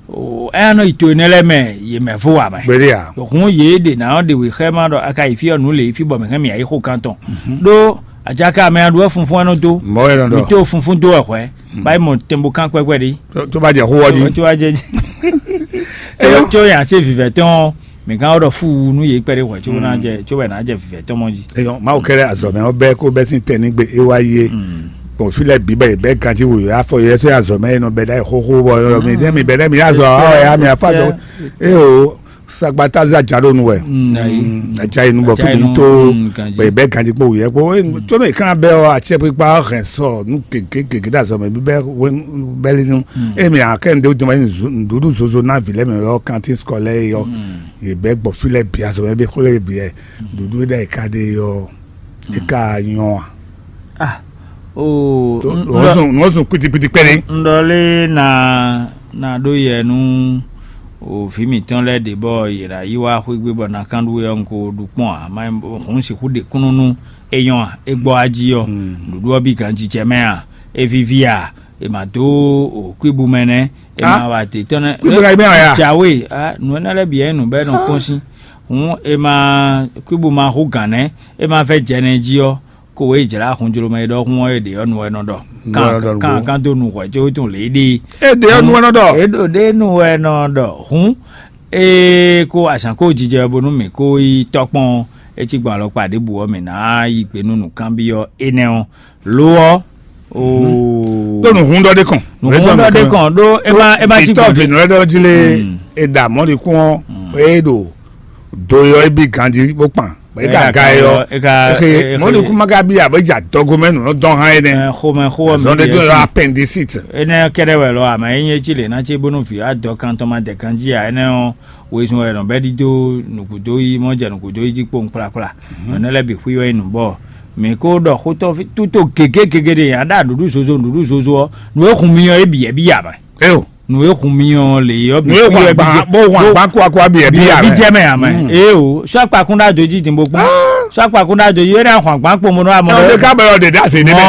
Ɛyá nɔ yi to énɛ́ lɛ́ɛ mɛ yě mɛ fó wa mɛ. Gbéɖé a? Hǔn yě ɖe ná ɔ́ ɖe wě xɛ má ɖɔ a ka yi fí ɔ́ nǔ lě fí bɔ mǐ hɛn mǐ yi xó kan tɔn. Ɖó ajaka mɛ aɖu wɛ funfun ɛnɔ dó. Mɔ̌ wɛ nɔ ɖɔ. Mǐ tó funfun dó wɛ hwɛ̌. Báyìí mɔ tɛnbo kan kpɛkpɛ ɖi. Tó bá jɛ xó wɔ jí. Tó bá jɛ jí. Tó yà sé vivɛ tɔn mǐ kan ɔ́ ɖɔ fú nú yě kpɛɖé hwɛ̌ có ná jɛ có wɛ ná jɛ vivɛ tɔn mɔ jí. Eyɔn mawu kɛlɛ azɔmɛ ɔbɛ kó bɛ sín tɛ nígbe é wá yé. Bɔn fí lɛ bǐ bɛ bɛ ganjí wò yɔ afɔ yɛ sɛ azɔmɛ yɛ nɔ bɛ ɖa xóxó bɔ yɔ mi dɛ mi bɛ dɛ mi azɔ awɔ ya mi afɔ azɔ. Eyo sagbata za ja ɖo nu wɛ. Aja yi nu bɔ fí mi tó bɛ bɛ ganjí kpó wò yɛ kpó tó mi kan bɛ ɔ atsɛ pípa hɛn sɔ nu gègé gègé ɖe azɔmɛ bí bɛ bɛ li nu. Emi akɛ ndo jɔmɛ nuɖuɖu zozo na vi lɛ mɛ yɔ kantin skɔlɛ yɔ. Yɛ bɛ gbɔ fí lɛ bǐ azɔmɛ bí xó lɛ bǐ yɛ. Ɖuɖu ɖe ka ɖe yɔ. Eka nyɔ a? Ah, o nɔ zun kpitikpiti kpɛɖe. Ŋɖɔ lé na na ɖó yɛ nú o vǐ mǐtɔn lɛ́ɛ ɖě bɔ yě ná yi wá xwé gbé bɔ ná kán ɖu wɛ ɔ́ un ko ɖu kpɔ́n ǎ má hǔn sixú ɖe kúnnú nú é nyɔ́ a é gbɔ wá jí ɔ́. Nǔɖuɖu ɔ́ bǐ ganjijɛ mɛ a é víví a è ma dó o kwíbu mɛ nɛ́ è ma wa dě tɔn nɛ́. Kwíbu ka yi mɛ a ya? Jǎwe a nǔ énɛ́ lɛ́ɛ bǐ wɛ nǔ bɛ́ nɔ kpɔ́n sín. Hǔn è ma kwíbu ma hú gǎn nɛ́ é ma vɛ́ jɛ nɛ́ jí ɔ́, kó wě jlá xunjlomɛ e ɖɔhun ɔ́ è ɖě ɔ́ nu wɛ nɔ ɖɔ. Kan kan dó nu hwɛ̌ có tún lě ɖi. É ɖě ɔ́ nu wɛ nɔ ɖɔ. É ɖo ɖě nu wɛ nɔ ɖɔ hǔn. Ée kó azǎn kó jijɛ bónú mǐ kó yi tɔ́kpɔn é cí gbɔn alɔkpa ɖěbǔ ɔ́ mǐ ná yi gbe nú nǔkanbyɔ́ énɛ́ ɔ́. Lo ɔ́ oo. Ɖó nǔhún ɖɔ ɖé kɔn. Nǔhún ɖɔ ɖé kɔn ɖó é má é má cí gbɔn. Itɔ́ vǐnú lɛ́ɛ ɖɔ jí lé. É ɖa mɔ̌likún ɔ́ é ɖo do yɔ é bí ganjí bó kpan. E ka ga yɔ. Mɔlikún ma ka bí abe dza dɔgomɛ nǔ dɔn hã énɛ́. Xomɛ xó ɔ́ zɔn ɖe tó yɔ appendicite. Énɛ́ kɛɖɛ wɛ lɔ ame é nyí etsi lě ná tsi bónú vǐ adɔ kan tɔn ma dɛ ganjí a énɛ́ ɔ́ wezun wɛ nɔ bɛ ɖi dó nǔkúdó yi mɔ jɛ nǔkúdó yi jí kpowun kplakpla. Nɔ énɛ́ lɛ́ bǐ xwí wɛ nǔ bɔ mǐ kó ɖɔ xótɔ́ tútó gěgé gěgé ɖe a ɖa nǔɖuɖu zozo nǔɖuɖu zozo ɔ́ nǔ e hun mi ɔ́ é bǐ yɛ bí ya mɛ. Eo. Nǔ e hun mi ɔ́ lě ɔ́ bǐ Nǔ e hun agban, bó hun agban kó akó abi ɛ bí bí ɛ bí jɛ mɛ amɛ. Ee o, sɔ akpakún ɖa dojí dín bó kpɔn. Sɔ akpakún ɖa dojí é ná hun agban kpɔn mo nɔ amɔ. Ɛ o de ká bɛ ɔ de da se ne mɛ.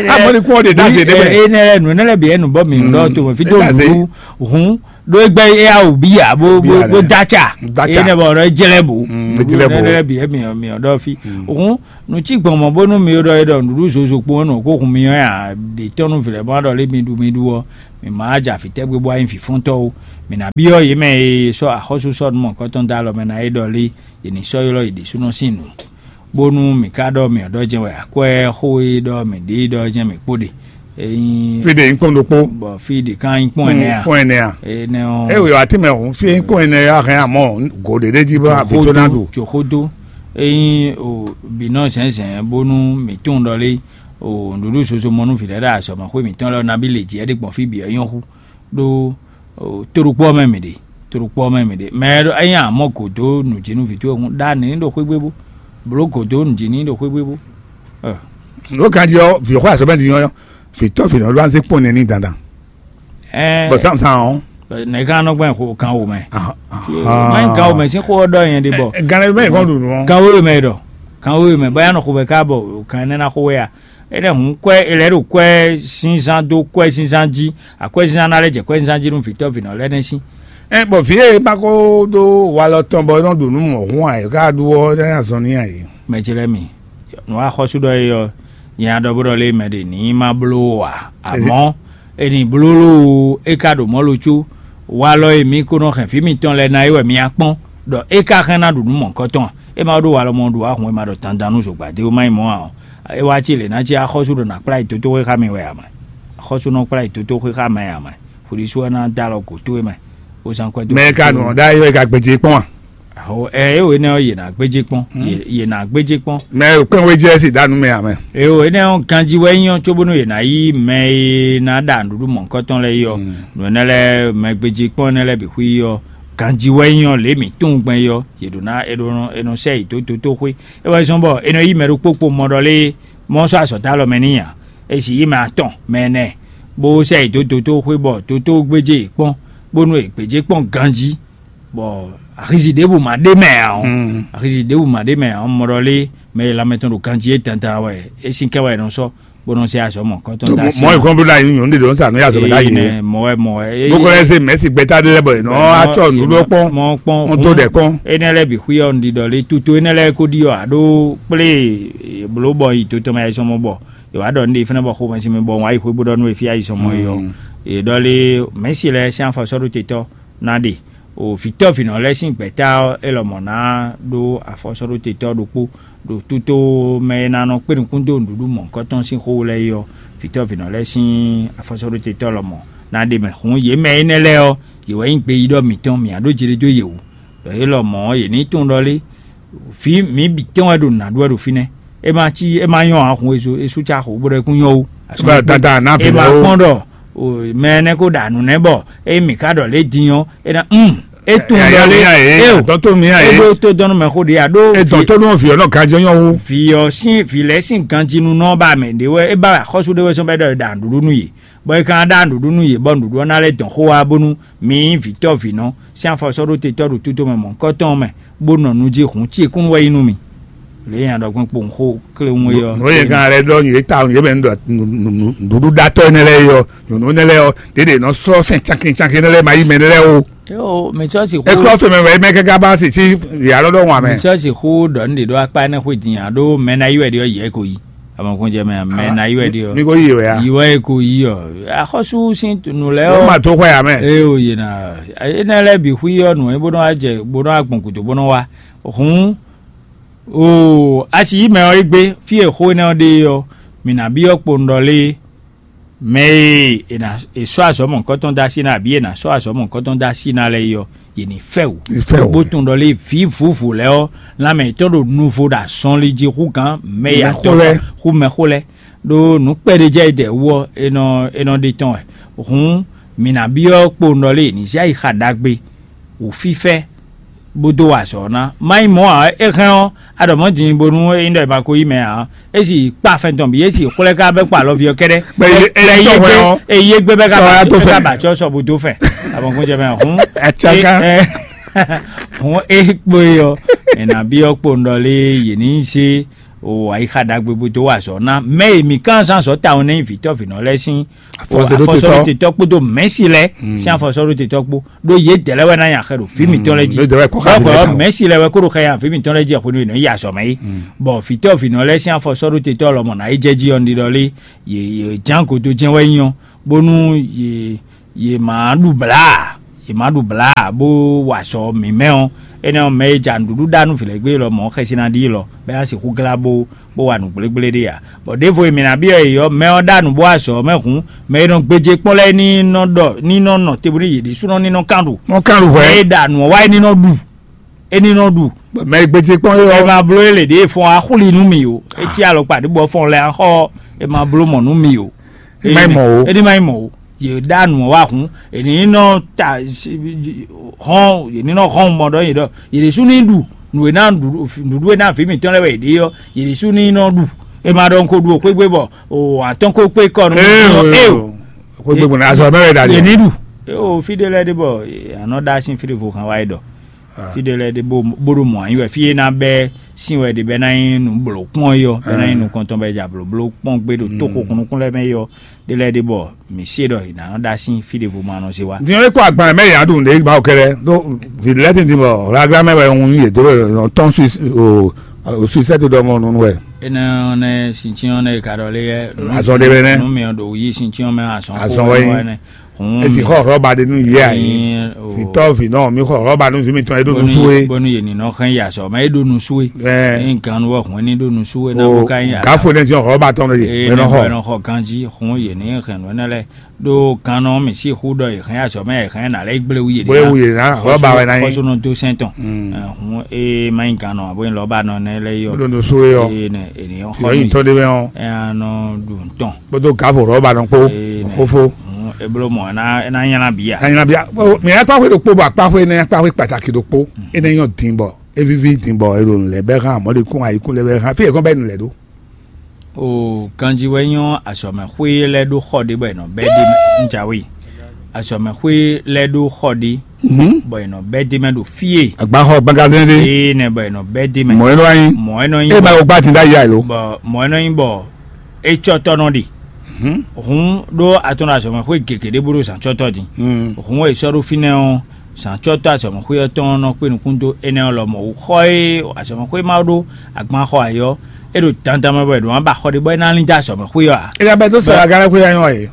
Amɔ ni kún ɔ de da se ne mɛ. E ne lɛ nǔ ne lɛ bi ɛnu bɔ mi ɖɔ to fi do nǔ hun ɖo egbɛ e awo bi ya bó bó bó datsa. E ne bɔ ɔdɔ jɛlɛ bo. Jɛlɛ bo. Ne lɛ bi ɛmi mi ɔdɔ fi hun. Nǔ cí gbɔn mɔ̌ bónú mi ɖɔ é ɖɔ nǔɖuɖu zozo kpowun nɔ kó hun mi ɔ́ ǎ, ɖě tɔ́ nú vǐ lɛ́ɛ bó ná ɖɔ lé mi ɖu mi ɖu ɔ́, mi ma wá jɛ afǐ tɛ́ gbé bó wá nyí vǐfɔ́ntɔ́ ó. Mi ná byɔ́ yě mɛ e sɔ́ axɔ́sú sɔ́ nú mɔ̌hunkɔtɔn dó alɔ mɛ ná é ɖɔ lé, yě ní sɔ́ ylɔ́ yě ɖésúnɔ sín nǔ. Bónú mi ka ɖɔ mi ɔ́ ɖɔ jɛ́n wɛ akwɛ́ xó e ɖɔ mi ɖe é ɖɔ jɛ́n mi kpó ɖe. Ényí Fí ɖe nyí kpɔ́n ɖokpó. Bɔ fí ɖě ká nyí kpɔ́n ɛnɛ a? Kpɔ́n ɛnɛ a? Énɛ́ ɔ́, Ewé wa tí mɛ hǔn fí nyí kpɔ́n ɛnɛ a hɛn amɔ gǒ ɖé ɖé jí bɔ abǐ tó ná ɖu. Tso xódó. Ényí o bǐ nɔ zɛ̌nzɛ̌n bónú mǐ tunwun ɖɔ lé o nǔɖuɖu zozo mɔ nú vǐ lɛ́ɛ ɖo azɔ̌mɛxwé mǐtɔn lɛ́ɛ ɔ́ nabí lě jí ɛ́ ɖé gbɔn fí bǐ ɔ́ nyɔ́ hú. Ɖó o, to ɖokpó ɔ́ mɛ mǐ ɖe, to ɖokpó ɔ́ mɛ mǐ ɖe. Mɛ ɛ ɖo ényí a mɔ gǒ dó nǔ jí nú vǐ towe hǔn ɖó anǐ ní ɖo xwé gbé bó, blǒ gǒ dó nǔ jí ní ɖo xwé gbé bó. Ɛ, Lǒ kan jí ɔ́, vǐ xɔ azɔ̌ mɛ din ɔ́, vǐ tɔ́ vǐ nɔ ɖó azé kpɔ́n nɛ́ ní dandan. Ɛ, Bɔ zǎnzǎn ɔ́, Nɛ̌ ká nɔ gbɛn xo kan wo mɛ? Má nyí kan wo mɛ sín xó ɔ́ ɖɔ nyɛ ɖe bɔ. Gánlɛ mɛ kɔn ɖu nǔ ɔ́. Kan wo mɛ ɖɔ, kan wo mɛ bɔ ya nɔ xo vɛ ká bɔ kan ɛnɛ ná xo wɛ a? Énɛ́ hǔn kwɛ́ è lɛ́ ɖo kwɛ́ zínzán dó kwɛ́ zínzán jí, akwɛ́ zínzán ná lɛ́ jɛ kwɛ́ zínzán jí nú vǐtɔ́ vǐnɔ lɛ́ɛ nɛ́ sín. Ɛ bɔ vǐ e ma ko ɖó walɔ tɔn bɔ é nɔ ɖu nǔ mɔ̌hun ǎ, é ka ɖu ɔ́, é ná zɔn n'i ǎ é. Mɛ ce lɛ́ɛ mi, nǔ axɔ́sú ɖɔ é ɔ́, nyɛ a ɖɔ bó ɖɔ lé mɛ ɖě ní ma bló ó ǎ. Amɔ̌, è nǐ bló lóo, é ka ɖo mɔ̌ lo có. Walɔ e mi ko nɔ hɛn vǐ mitɔn lɛ́ɛ ná é wɛ mi ná kpɔ́n, ɖɔ é ka hɛn ná ɖu nǔ mɔ̌hunkɔtɔn a? É ma ɖó walɔ mɔ ɖu ahun e ma ɖɔ dandan nú zǒgbadé ó má nyí mɔ̌ ǎ ɔ́, é wá cí lě ná cí axɔ́sú ɖo nǎ kplá yi dótóxwé xá mi wɛ ǎ mɛ. Axɔ́sú nɔ kplá yi dótóxwé xá mɛ ǎ mɛ. Xwedísú ɔ́ ná dó alɔ gǒ towe mɛ, bó zán kwɛ́ dó. Mɛ ka nɔ ɖ'ayǐ wɛ ka gbèjì kpɔ́n a? Aho, ɛ é wǒ énɛ́ ɔ́, yě ná gbéjé kpɔ́n. Yě yě ná gbéjé kpɔ́n. Mɛ kpɛ́n wé jɛ si danu mɛ amɛ. Eo énɛ́ ɔ́, ganjí wɛ nyí ɔ́, cóbónú yě ná yí mɛ e ná ɖa nǔɖuɖu mɔ̌hunkɔtɔn lɛ́ɛ yi ɔ́, nǔ énɛ́ lɛ́ɛ mɛ gbéjé kpɔ́n énɛ́ lɛ́ɛ bǐ xwí yi ɔ́, ganjí wɛ nyí ɔ́, lě mǐ tunwun gbɛn yi ɔ́, yě ɖó ná è ɖó nɔ è nɔ sɛ yi dó dotóxwé. É wɛ zɔ́n bɔ è nɔ yí mɛ ɖokpó kpo mɔ ɖɔ lé mɔ sɔ́ azɔ̌ dó alɔ mɛ n'i ǎ. È sǐ yí mɛ atɔn mɛ ɛnɛ, bó sɛ yi dó dotóxwé bɔ dotó gbéjé yě kpɔ́n, bónú è gbějé kpɔ́n ganjí. Bɔ axizi ɖěbǔ ma ɖ'é mɛ ǎ ɔ́, axizi ɖěbǔ ma ɖ'é mɛ ǎ ɔ́, mɔ ɖɔ lé mɛ e lanmɛ tɔn ɖo ganjí é dandan wɛ é sín kɛ wɛ è nɔ sɔ́, bó nɔ zé azɔ̌ mɔ̌hunkɔtɔn dó así. Mɔ ìkɔn bló la nyɔ̌nu ɖě ɖo sá nǔ ya zɔmɛ ɖ'ayǐ. Nɛ mɔ wɛ mɔ wɛ. Bó kɔ lɛ́ zé mɛ̌si gbɛ́ta ɖé lɛ́ɛ bɔ è nɔ acɔ nǔ ɖó kpɔ́n. Mɔ kpɔ́n. Wọ́n tó ɖɛ̌ kɔn. Énɛ́ lɛ́ɛ bǐ xwí ɔ́, un ɖiɖɔ lé tutu énɛ́ lɛ́ɛ ko ɖi ɔ́, aɖó kplé bló bɔ yi to tɔn mɛ ayizɔ́mɔ bɔ è wǎ ɖɔ nǔɖé fínɛ́ bɔ xomɛ sín mi bɔ wǎ yi xwé bó ɖɔ nú e fí ayizɔ́mɔ é ɔ́. È ɖɔ lé mɛ̌si lɛ́ɛ sín afɔ sɔ́ ɖó te tɔ́ ná ɖe. O vǐtɔ́ vǐnɔ lɛ́ɛ sín gbɛ̌ta ɔ́, é lɔmɔ̌ ná ɖó afɔsɔ́ɖótetɔ́ ɖokpó ɖo tútó mɛ e ná nɔ kpé nukún dó nǔɖuɖu mɔ̌hunkɔtɔn sín xó lɛ́ɛ é ɔ́, vǐtɔ́ vǐnɔ lɛ́ɛ sín afɔsɔ́ɖótetɔ́ lɔmɔ̌ ná ɖe mɛ. Hǔn yě mɛ énɛ́ lɛ́ɛ ɔ́, yě wɛ nyí gbeyíɖɔ mǐtɔn, mǐ ná ɖó jeɖé dó yě wú. Ɖɔ é lɔmɔ̌ ɔ́, yě ní tunwun ɖɔ lé, vǐ mǐ bǐ tɔn wɛ ɖo nǔ ná ɖu wɛ ɖo fínɛ́. É ma cí é ma nyɔ́ ǎ, hun e sú cá xo bó ɖɔ é kún nyɔ́ ó. Bá dada ná vǐ É ma lɛ́ɛ ó. Kpɔ́n ɖɔ o, mɛ énɛ́ ko ɖo anǔ nɛ́ bɔ é mǐ ka ɖɔ lě din ɔ́, é ná um é tunwun Yaya ɖɔ lé mi ya é, é o. Dɔn tó mi ya É é. Ɖó tó dɔn nú mɛ xó ɖě a ɖó É dɔn tó nú vǐ ɔ́ nɔ ganjɔ nyɔ wú. Vǐ ɔ́ sín vǐ lɛ́ɛ sín ganjinunɔ ba mɛ ɖě wɛ é ba axɔ́sú ɖé wɛ sɔ́ bɔ é ɖɔ è ɖa nǔɖuɖu nú yě, bɔ é ka ná ɖa nǔɖuɖu nú yě bɔ nǔɖuɖu ɔ́ ná lɛ́ dɔn xó wá bónú mǐ nyí vǐtɔ́ vǐnɔ sín afɔsɔ́ɖótetɔ́ ɖo tútó mɛ mɔ̌hunkɔtɔn mɛ, bó nɔ nu jí hǔn cíkún wɛ nyí nú mì. Lě e nya ɖɔ gbɔn kpowun xó kléwún é ɔ́. Nǔ e kan lɛ́ ɖɔ yě ta yě mɛ nǔɖuɖu ɖatɔ́ énɛ́ lɛ́ɛ é ɔ́, nyɔ̌nu énɛ́ lɛ́ɛ ɔ́, ɖěɖě nɔ sɔ́ fɛn cankin cankin énɛ́ lɛ́ɛ ma yí mɛ énɛ́ lɛ́ɛ ó. Yo, mɛ tsɔ si xó. Eklɔ fɛn mɛ wɛ mɛ kɛkɛ ba si ci yà lɔdɔ ŋwa mɛ. Mɛ tsɔ si xó ɖɔ ní ɖe ɖo akpa énɛ́ xwé din alo mɛ ná yi wɛ ɖe ɔ́ yɛ ko yi. Amɔkun jɛ mɛ mɛ ná yi wɛ ɖe ɔ́. Mi ko yi wɛ ya. Yi wɛ ko yi ɔ. Axɔsu sin nu lɛ Ó ɔ. Ma tó xɔ ya mɛ. Ee o yena. Ene lɛ bi xwi ɔ nu ebo nɔ ajɛ bo nɔ agbɔn kudo bo nɔ wa. Hun. O asi yi mɛ ɔ egbe fi e xó énɛ́ ɔ́ ɖe ɔ, mi ná byɔ́ kpowun ɖɔ lé. Mɛ e è nǎ è sɔ́ azɔ̌ mɔ̌hunkɔtɔn dó así ná abǐ è nǎ sɔ́ azɔ̌ mɔ̌hunkɔtɔn dó así ná lɛ́ɛ é ɔ́, yě ní fɛ wǔ. Ní fɛ wǔ. Bó tunwun ɖɔ lé vǐ vǔvǔ lɛ́ɛ ɔ́, lanmɛ yětɔn ɖo nuvo ɖo azɔnlin jí hú gǎn mɛ Mɛ yatɔn xó lɛ́ɛ. Hú mɛ xó lɛ́ɛ. Ɖó nǔ kpɛɖé jɛ é dɛ wú ɔ́, é nɔ é nɔ ɖe tɔn wɛ. Hǔn mǐ ná byɔ́ kpowun ɖɔ lé è ní zé ayixa ɖagbe wǔfífɛ́ bó dó wa azɔ̌ ná. Má nyí mɔ̌ ǎ, é hɛn ɔ́, a ɖɔ mɔ̌ din bónú é nyí ɖɔ è ma ko yí mɛ ǎ. É sì kpa fɛn tɔn bǐ, é sì xwlɛ́ ká bɛ́ kpa alɔví ɔ́ kɛ́ɖɛ́. Bɔ é- é- é- yé gbé, é yé gbé bɛ́ ká sɔ ba- ya tó bɛ́ ká fɛ. Ba tsɔ sɔ bó dó fɛ. Abɔ̀nkún jɛ mɛ hǔn. Atsaka. É- é- hǔn é kpo é ɔ́, è nǎ byɔ́ kpo un ɖɔ lé yě ní zé o ayixa ɖagbe bó dó wa azɔ̌ ná mɛ e mǐ kán zán azɔ̌ tawun nɛ́ nyí vǐtɔ́ vǐnɔ lɛ́ɛ sín afɔsɔɖótetɔ kpódó mɛ̌si lɛ́ɛ sín afɔsɔɖótetɔ kpó ɖó yědɛɛ lɛ́ɛ wɛ ná nyi axɛ ɖo fí mǐtɔn lɛ́ɛ jí. Mɛ̌si lɛ́ɛ wɛ kó ɖo xɛ nyi afí mǐtɔn lɛ́ɛ jí axwenu e nɔ yi azɔ̌ mɛ é. Bɔ vǐtɔ́ vǐnɔ lɛ́ɛ sín afɔsɔɖótetɔ lɔmɔ̌ ná yi jɛ jí ɔ́, un ɖiɖɔ lé yě yě ján godo jɛ́n wɛ nyí ɔ́, bónú yě yě má ɖu blǎ, yě má ɖu blǎ bó wa azɔ̌ mǐmɛ́ ɔ́, énɛ́ ɔ́, mɛ e ja nǔɖuɖu ɖa nú vǐ lɛ́ɛ gbé lɔ mɔ̌ xɛsi ná ɖi lɔ, bɔ é ná sixú glá bó bó wa nǔ gblégblé ɖé ǎ. Bɔ ɖěvo e mǐ ná byɔ́ yě ɔ́, mɛ ɔ́ ɖa nǔ bó wa azɔ̌ ɔ́ mɛ hǔn, mɛ e nɔ gbéjé kpɔ́n lɛ́ɛ ní nɔ ɖɔ ní nɔ nɔ te bónú yě ɖésúnɔ ní nɔ kán ɖu. Wọ́n kán ɖu hwɛ̌. Mɛ e ɖa nǔ ɔ́ wá é ní nɔ ɖu, é ní nɔ ɖu. Mɛ e gbéjé kpɔ́n é Ɛ ɔ́. Ma bló é lě ɖě fɔ́n axúli nú mì o. É cí alɔkpa ɖé bɔ fɔ́n lɛ axɔ é ma bló mɔ̌ nú mì o. É má nyí mɔ̌ o. É ní má nyí mɔ̌ o. Yě ɖa nǔ ɔ́ wá hun, yě ní nɔ ta hɔn, yě ní nɔ hɔn mɔ ɖɔ yě ɖɔ yě ɖésú ní ɖu nǔ e ná nǔɖuɖu e ná vǐ mǐtɔn lɛ́ɛ wɛ yě ɖe ɔ́, yě ɖésú ní nɔ ɖu. É ma ɖɔ un ko ɖu o xwégbé bɔ o atɔ́n ko kpé kɔ nú Ee, mì o, eo. Xwégbé gbɔn azɔ mɛ wɛ ɖa Yě ní ɖi. Ɖu. O fí ɖé lɛ́ɛ ɖé bɔ anɔ ɖa sín fí ɖé vo kan wá yi ɖɔ. Fí ɖé lɛ́ɛ ɖé bó bó ɖo mɔ̌ anyi wɛ fí e ná bɛ́ sín wɛ ɖe bɛ ná nyí nǔ blǒ kpɔ́n é ɔ́, bɛ ná nyí nukɔntɔn bɛ ja blǒbló kpɔ́n gbé ɖo tó xo kunnukún lɛ́ɛ mɛ é ɔ́, ɖé lɛ́ɛ ɖé bɔ mǐ se ɖɔ è nǎ nɔ ɖa sín fí ɖěvo ma nɔ zé wá. Din ɔ́, é kó agban mɛ yǎ ɖu nǔɖé ba kɛɖɛ ɖó vǐ lɛ́ɛ tɛ́ntin bɔ hlaglá mɛ wɛ un yě dó wɛ nɔ tɔn suisɛ́ ɖɔ mɔ nunu wɛ. Énɛ́ ɔ́ nɛ́ sincyɔ́n nɛ́ è ka ɖɔ lé yɛ. Azɔn ɖé wɛ nɛ́. Nú mi ɔ́ ɖo yí sincyɔ́n mɛ azɔn Azɔn xó wɛ wɛ nyí. Nɛ́. Hǔn Esi xɔ hlɔ́ba ɖé nú yɛ ayǐ. Ɛyin, o. Vitɔ́ vǐ nɔ mi xɔ hlɔ́ba nú vǐ mitɔn e ɖó nusú é. Bónú yě ní nɔ hɛn yi azɔ̌ mɛ é ɖó nusú é. Ɛ. Ní gannú wɛ hǔn é ní ɖó nusú é ná bó ka nyí Gafo nɛ́ ti hlɔ́ba tɔn ɖé É yě nɔ nɔ xɔ. Bɔ é nɔ xɔ ganjí hǔn yě ní hɛn nǔ énɛ́ lɛ́ɛ ɖó gannɔ mǐ sixú ɖɔ è hɛn azɔ̌ mɛ è hɛn nǎ lɛ́ gblé wú yě Bó é wú yě ná, hlɔ́ba wɛ ná nyí. Xɔsónɔ dó sɛn tɔn. Hǔn é má nyí gannɔ abo nyí hlɔ́ba nɔ nɛ́ lɛ́ɛ yí ɔ́. Ɖó nusú é ɔ́. É nɛ è ní xɔ Yɔ mì. Yí tɔn ɖé mɛ ɔ́. Ɛ nɔ ɖu ntɔn. Kpódó Gafo hlɔ́ba nɔ kpó. Ee, nɛ. Xófó. Hǔn é bló mɔ̌ ná é ná nylá bǐ a? Anyla bia. Mɛ akpáxwé ɖokpó bɔ akpáxwé nɛ akpáxwé pàtàkì ɖokpó. É nɛ nyɔ din bɔ é víví din bɔ é ɖo nǔ lɛ́ɛ bɛ́ hán mɔ̌likún ayikún lɛ́ɛ bɛ́ hán fí yě kɔn bɛ́ nǔ lɛ́ɛ ɖó. O ganjí wɛ nyɔ azɔ̌mɛxwé lɛ́ɛ ɖó xɔ ɖé bɔ è nɔ bɛ́ ɖ'é mɛ un jǎwe. Azɔ̌mɛxwé lɛ́ɛ ɖó xɔ ɖé bɔ è nɔ bɛ́ d'é mɛ ɖo fí e Agbaxɔ gbangazɛn ɖé. Ee nɛ bɔ è nɔ bɛ́ d'é mɛ. Mɔ̌ é nɔ wá nyí. Mɔ̌ é nɔ nyí É ma bɔ- wo gbá din ɖ'ayǐ alo. Bɔ mɔ̌ é nɔ nyí bɔ é cɔ́ tɔ́ nɔ ɖe. Hǔn ɖó atɔn ɖo azɔ̌mɛxwé gěgé ɖé bó ɖo zǎncɔ́tɔ́ din. Hǔn e sɔ́ ɖó fínɛ́ ɔ́, zǎncɔ́tɔ́ azɔ̌mɛxwé ɔ́ tɔn nɔ kpé nukún dó énɛ́ ɔ́ lɔmɔ̌ wú. Xɔ e azɔ̌mɛxwé ma ɖó agban xɔ ayǐ ɔ́, é ɖo dandan mɛ bɔ è ɖǒ ná ba xɔ ɖé bɔ é ná lín dó azɔ̌mɛxwé ɔ́ ǎ. É ka bɛ́ dó sɔ́ agalɛ́xwé ɔ́ nyɔ́ ǎ é.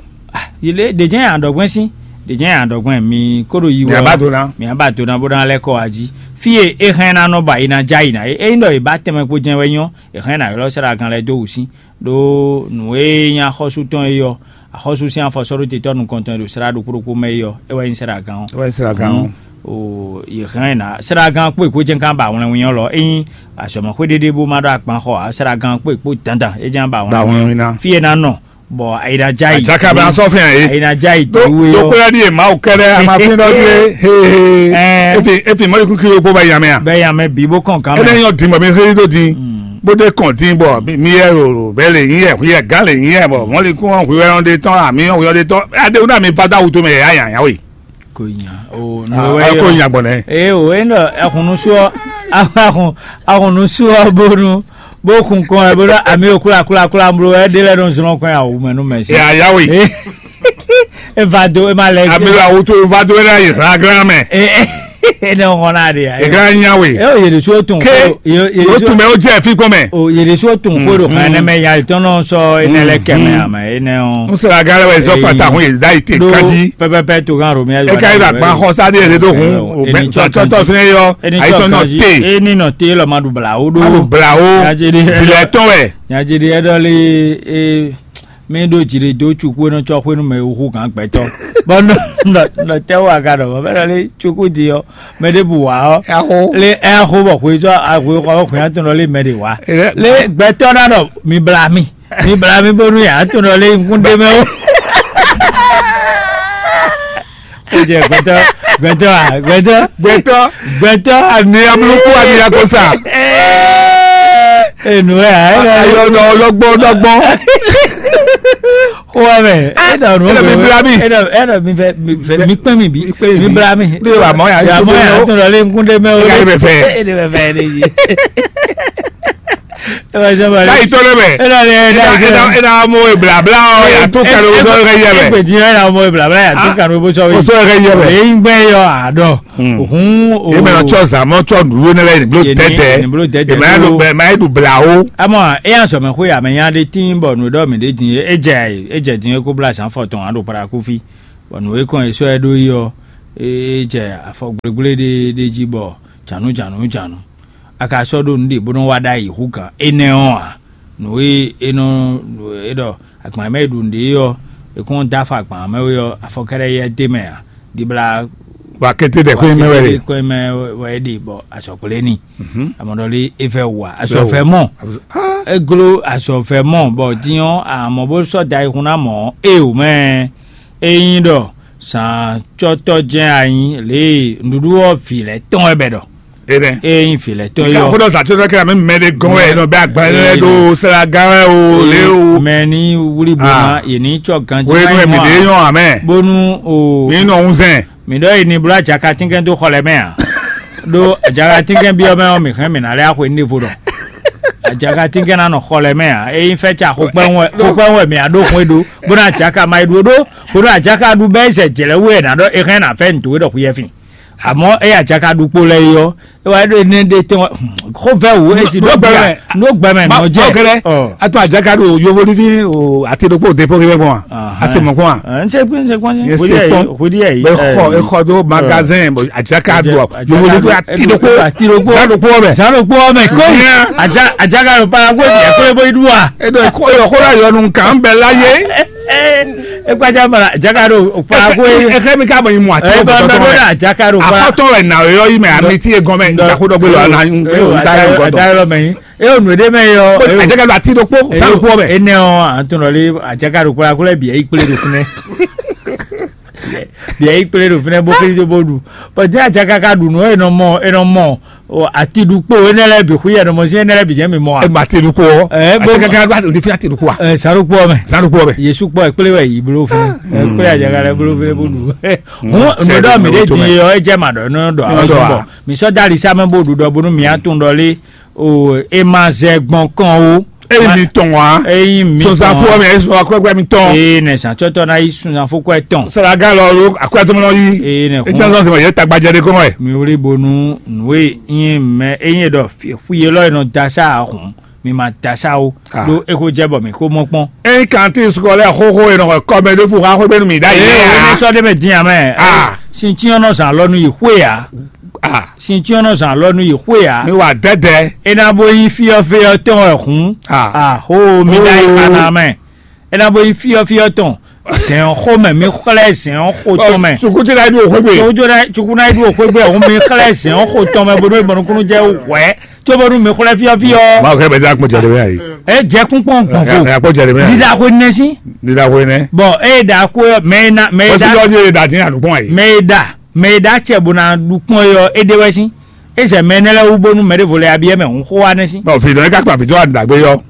Yě lé ɖě jɛ́n aɖɔgbɛ́n sín, ɖě jɛ́n aɖɔgbɛ́n mi kó ɖo yi wɛ Mǐ ɔ́, ba do ná. Mǐ ba do ná bó ná lɛ́ kɔ wá jí. Fí e é hɛn ná nɔ ba yi ná já yi ná é, ényí ɖɔ è bá tɛnmɛ kpo jɛ́n wɛ nyɔ́, è hɛn ná ylɔ́ sɛ́ɖagán lɛ́ɛ dó wǔ sín. Ɖó nǔ e nyí axɔ́sú tɔn é ɔ́, axɔ́sú sín afɔsɔ́ɖótetɔ́ nukɔntɔn e ɖo slá ɖokpó ɖokpó mɛ é ɔ́, é wɛ nyí sɛ́ɖagán ɔ́. É wɛ nyí sɛ́ɖagán ɔ́. O yě hɛn ná sɛ́ɖagán kpó èkó jɛ́n ká ba wlɛnwin ɔ́ lɔ, ényí azɔ̌mɛxwé ɖéɖé bó má ɖó agban xɔ ǎ, sɛ́ɖagán kpó èkpó dandan é jɛ́n ba Ba wlɛnwin wlɛnwin ná. Fí e ná nɔ, bɔ ayi ná já yi. Àjàkà bá sɔ fún yàn yé. Ayi ná já yi Tó tó wé tó yɔ. Kpéra di yé Mawu kɛɖɛ a ma fi ɖɔ di yé. He he. Ɛ. Efi efi mɔli kúkiri kpó bá yàn mɛ a. Bɛ yàn mɛ bí bó kàn kan Ene mɛ. Yɔ dìmɔ mi xeli tó di. Bó dé kàn dín bɔ mi yɛ rò bɛ lè yín yɛ yɛ gán lè yín yɛ bɔ mɔli kún ɔn hwiyɔ de tɔn àmì ɔn hwiyɔ de tɔn. Adéhùn náà mi fada wuto mɛ yà yàn yà wé. Kò yàn o. Ah, nùwẹ́ ẹ kò yọ. Yàn gbọ̀n nẹ. Ee o e nɔ ɛhùn nusú ɔ ahùn ahùn nusú ɔ bónú bó kun kɔn ɛ bónú ami o kúlakúlakúla blo ɛ dé lɛ nɔ zlɔn kɔn ya wò mɛ nú mɛ sí. Ẹ àyáwé. E va do e ma lɛ. Ami la woto va do ẹ la yìí sara gílámẹ. Ee e ne ŋɔ na de ya. Ẹ gílámẹ nyáwé. E o yèrè so tún. Ké o yèrè o so tún bẹ o jẹ fi kọmẹ. O yèrè so tún kó do xan ẹnẹ mɛ ya tɔn nɔ sɔ ẹnẹ lɛ kẹmẹ amẹ ẹnẹ o. N sara gílámẹ wẹ zọ pata hun yìí dá yìí tè kájí. Pẹpẹpẹ tó kan romiya. E ka yi la gba xɔ sa de yẹrẹ do hun o bẹ sɔ tɔtɔ fún yẹ yọ. Ayi tɔn nɔ te. E ni nɔ te lɔ ma ɖu bla wo ɖo. Ma ɖu bla wo. Nyadzede. Vilɛ tɔn wɛ. Nyadzede ɛdɔ le e mi ɖo dzi ɖe do tsuku enɔ tsɔ xwenu mɛ wu gan gbɛtɔ. Bɔn nɔ nɔ nɔ tɛ wo aga ɖɔ bɛ ɖɔ le tsuku di yɔ mɛ ɖe bu wa ɔ. Ɛho. Le ɛho bɔ xwe tsɔ ahwe xɔ xwe atɔn ɖɔ le mɛ ɖe wa. Le gbɛtɔ na ɖɔ mi bla mi. Mi bla mi bónú yě á tunɔ lé nkún ɖé mɛ ó. Ejɛ gbɛtɔ, gbɛtɔ a, gbɛtɔ, Gbɛtɔ, gbɛtɔ. ani abluku, ani akosa. Enu ɛ a, ɛ Ayɔ nɔ lɔgbɔ lɔgbɔ. Xɔa mɛ, e dɔ nu e dɔ mi bla mi. E dɔ e dɔ mi fɛ mi fɛ mi kpɛn mi bi, Mi kpɛn mi mi bi. Bla mi. Ne wa mɔ ya Ya mɔ ya tun dɔ le nkun de mɛ o. Ega yi bɛ fɛ. E de bɛ fɛ de yi. E wa sɛ ma. N'a yi tɔ ne mɛ. E dɔ le e Ena dɔ ena ena mo e blabla o, ya to kalo sɔ e ka yɛ mɛ. Egbe di e na mo e blabla ya to kalo bo sɔ O wi. sɔ e ka yɛ mɛ. E yin gbɛ yɔ a dɔ. Ohun o. E mɛ nɔ tsɔ zan mɔ tsɔ nuɖuɖu ne lɛ nyi blo Yɛ ni- tɛtɛ. yɛ ni blo tɛtɛ E ma ya blo- ɖu ma ya ɖu bla o. Amɔ eya sɔmɛ xwe amɛ nya ɖe tín bɔ nǔ ɖɔ mǐ ɖe din e jɛ e jɛ din e kó blá zǎn fɔ tɔn aɖo paraku fí, bɔ nǔ e kɔn e sɔ́ ɛ ɖó yi ɔ́, e jɛ afɔ gblégblé ɖé ɖé jí bɔ jǎnú jǎnú jǎnú. A ka sɔ́ ɖó nǔ ɖě bó nɔ́ wá ɖ'ayǐ hú gǎn énɛ́ ɔ́ ǎ. Nǔ e é nɔ e ɖɔ agban mɛ e ɖu nǔɖé ɔ́, è kɔn dó afɔ agban mɛ wé ɔ́, afɔ kɛ́ɖɛ́ yɛ d'é mɛ ǎ. Dibla Wa kete ɖe xwé mɛ wɛ ɖe. Kɔn mɛ wɛ ɖe bɔ azɔgblé ni. Amɔdɔli e vɛ wa azɔfɛ mɔ. Eglo azɔfɛ mɔ bɔ diɔ amɔ bó sɔ da ikun na mɔ e o mɛ. Eyin ɖɔ sàn tsɔtɔ jɛn anyi lě nɖuɖu ɔ vi lɛ tɔn wɛ bɛ ɖɔ. E nɛ. Eyin vi lɛ tɔn Ika yɔ. Ko dɔ sa tsɔtɔ kɛ mi mɛ de gɔn wɛ nɔ bɛ agba yɛ do sara gan wɛ o le o. Mɛ ni wuli bo Ah. ma yɛ ni tsɔ ganji Wo enu mi de yɔn amɛ. Bonu o. Mi nɔ ŋun zɛn. Mi ɖɔ yi ni bló ajaka tínkɛn dó xɔ lɛ mɛ a? Ɖó ajaka tínkɛn byɔ́ mɛ ɔ́, mǐ hɛn mǐ ná lɛ́ axwe nívo ɖɔ. Ajaka tínkɛn ná nɔ xɔ lɛ mɛ a? Ényí fɛ́ ca xokpɛ́n wɛ xokpɛ́n wɛ mǐ á ɖó xwé ɖó, bó ná ajaka ma yi ɖó ɖó, bó ná ajaka ɖu bɛ́ zɛ jlɛ̌ wú ɛ ná ɖɔ é hɛn ná fɛ́ nǔ towe ɖɔ xwíyɛ́fin. Àmọ́ é ajaka ɖu kpo lɛ yi ɔ́, é wá ɖó énɛ́ ɖé tɔn xó vɛ́ wǔ é si ɖó gbɛmɛ nɔ jɛ. Ɔ. Atɔ ajaka ɖo yovo ní fi o ati ɖokpó depo kí bɛ gbɔn wa. Asi mɔ kpɔn wa. N ṣe pín ṣe pọ́n Yẹ ṣe se kpɔn. Kò dí ẹ̀ yìí. Bɛ xɔ exɔ do magazin bɔ ajaka do yovo ní fi ati ɖokpó. Ati ɖokpó. Zan ɖokpó bɛ. Zan ɖokpó ɔmɛ kó. Ajaka ló para kó ìdí ẹ̀kọ́ lé bó idú wa. Edo exɔ yɔ nu nkan bɛ la ye. Ekpadza mara ajaka ɖo para kó yé. Exɛ mi ka bɔ yi mu ati Ẹ bá ɖokpó bá tɔtɔ bá mɛ. ajaka ɖo para. Afɔtɔ wɛ na yɔ yi mɛ ami ti ye gɔmɛ ntakodɔgbe lɔ ana nta yɔ gɔdɔ. Adayɔlɔ mɛ yi. E o nu ɖe mɛ yɔ. Ajaka do ati ɖokpó zan ɖokpó bɛ. Ene ɔ, an tun lɔ le ajaka ɖo para kó lɛ bi eyi kple ɖo fúnɛ. Bi eyi kple ɖo fúnɛ bó kiri tó bó ɖu. Bɔn jẹ́ ajaka ka ɖu nù ẹ nɔ mɔ ẹ nɔ mɔ. Ati ɖu kpó ẹ nɛ lɛ bi xú yɛ nɔ mɔ sí ẹ nɛ lɛ bi jẹ́ mi mɔ a. E ma ati ɖokpó. Ɛ, Ajaka ka do ati ɖokpó. Ɛ, saro kpó mɛ. Zan ɖokpó bɛ. Yesu kpɔ ekplé wɛ yi blo fún ɛ kplé ajaka lɛ blo fún ɛ bó ɖu. Hun sɛ nudɔ mi ɖo ɖe tó di mɛ. Yɔ ɛ jɛ ma ɖɔ nɔ ɖɔ Nɔ awɔ ɖɔ sɔn a. Bɔ mi sɔ dali sa mɛ bó ɖu ɖɔ bónú mi atún ɖɔ lé o e ma zɛ gbɔn kɔn o. Eyi mi tɔn wa. Eyi mi Sɔsanfo mi eyi sɔ akwɛkwɛ mi tɔn. Ee nɛ sàtsɔtɔ na yi sunsanfo kɔ ɛ tɔn. Saraga lɔ lo akwɛtɔmɔ lɔ yi. Ee nɛ Etsɛ sɔ sɔ yɛ tagbadze de kɔmɔ yɛ. Mi wuli bonu nue yin mɛ eyin ɖɔ fuyelɔ yi nɔ da sa ahun mi ma da sa o. Ah. Ɖo eko jɛ bɔ mi ko mɔ kpɔn. Eyi kanti sukɔlɛ xoxo yi nɔ kɔmɛ ɖo fu xa xo bɛnu mi da yi. Ee wele sɔ de mɛ diyan mɛ. Ah. Sintiɔnɔ zan lɔ nu yi xwe ya. Ah. Sintiɔnɔ zan lɔ nu yi xwe ya. Mi wa dɛdɛ. Ena bo yi fiyɔ fiyɔ tɔn wɛ hun. Ah. Aho mi da yi Oh. xana mɛ. Ena bo yi fiyɔ fiyɔ tɔn. Zɛn xo mɛ mi xlɛ zɛn xo tɔn mɛ. Sukuti na yi du o xo gbe. Tsojo na tsukuna yi du o xo gbe hun mi xlɛ zɛn xo tɔn mɛ bodo mɔnukunu jɛ wɛ. Tso bonu mi xlɛ fiyɔ fiyɔ. Ma o kɛ bɛ se akpɔ jɛ de bɛ yi. E jɛ kun kpɔn gbɔn fo. Akpɔ jɛ de bɛ. Dida ko nɛ si. Dida ko nɛ. Bɔn e da ko mɛ na mɛ O ti da lɔ di da ti a dukpɔn yi. mɛ da mɛ da cɛ bo na dukpɔn yɔ e de wɛ si. E sɛ mɛ ne lɛ wu bonu mɛ de vo le abi yɛ mɛ hun xo wa nɛ si. Ɔ fi dɔ yi ka kpa fi dɔ a dagbe yɔ.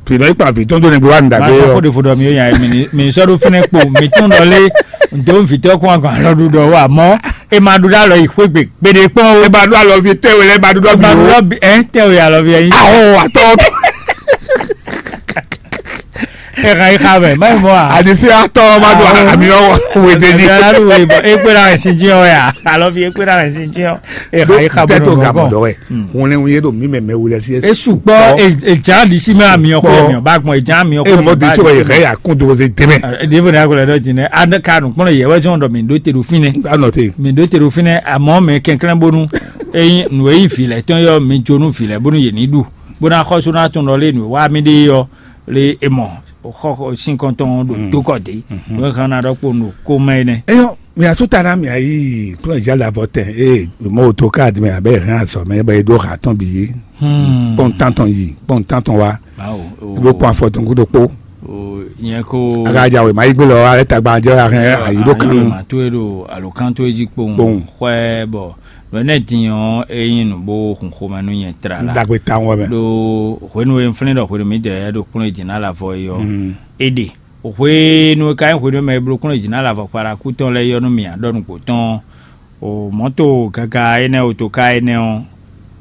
Fi dɔ yi kpa fi tɔn do ne gbe wa dagbe yɔ. Maa sɔ ko de fo dɔ mi yɔ yan mi ni mi sɔ do fɛnɛ kpo mi tún dɔ le ndo fi tɔ kún akɔn alɔ du dɔ wa mɔ e ma do da lɔ yi xwe gbe gbede kpɔn o. E ba do alɔ fi tɛ wele e ba do dɔ bi o. Ɛ tɛ o ya lɔ fi yɛ yi. Awo atɔ. Ɛ ka yi xa mɛ mayi mɔ a. Adisi atɔ ma do ami yɔ wete di. Ami yɔ wete bɔ ekpe na ɛsin jiyɔ ya alɔ fi ekpe na ɛsin jiyɔ. Ɛ ka yi xa bɔ tɛ to nɔ gamɔ dɔ wɛ. Hun lɛ hun ye do mi mɛ mɛ wulɛ si. Esu kpɔ ejan di si mɛ ami yɔ kɔ mi ba gbɔn ejan ami yɔ kɔ. E mɔ di tso yɛ kɛ ya kun do se tɛmɛ. Devo ne akɔlɛ dɔ jinɛ ane ka nu kpɔnɔ yɛ wɛ jɔn dɔ mi do te do finɛ. Anɔ te. Mi do te do finɛ amɔ mɛ kɛnklɛn bonu. Eyin nu eyin fi lɛ tɔn yɔ mi jo nu fi lɛ bonu yɛ ni du. Bó ná xɔsó ná tún lɔ lé nǔ wá mì ɖe ɔ́ lé é mɔ xɔ sínkɔntɔn ɖo dókɔ dé. Nǔ e hɛn ná ɖɔ kpo nǔ kó mɛ énɛ́. Eyɔ mi asu ta na mi ayi kplɔn ja la vɔ tɛ ee mo to ka di mɛ abe hɛn asɔ mɛ bɛ do ha tɔn bi yi kpɔn tantɔn yi kpɔn tantɔn wa. Ibo kpɔn afɔ tɔn kudo kpo. Nyɛ ko. Aga ja wěma yí gbé lɔ alẹ́ tagba jẹ́ ahɛn ayǐ ɖó kan nu. Màtó e ɖo alǒkan tó e jí kpowun. Kpowun. Xwɛ bɔ nǔ énɛ́ din ɔ́, é nyí nǔ bó hun xomɛ nú nyɛ tlala. Ɖagbe tawun wɛ mɛ. Ɖo hwenu e un flín ɖɔ hwenu mǐdɛɛ ɖo kplɔ́n e jǐ ná lavɔ é ɔ́, é ɖe. Hwenu e ka nyí hwenu e mɛ e bló kplɔ́n e jǐ ná lavɔ kpalaku tɔn lɛ́ɛ é ɔ́ nú mì ǎ ɖɔ nǔgbó tɔn ɔ́, o mɔ̌to gaga énɛ́ otoká énɛ́ ɔ́,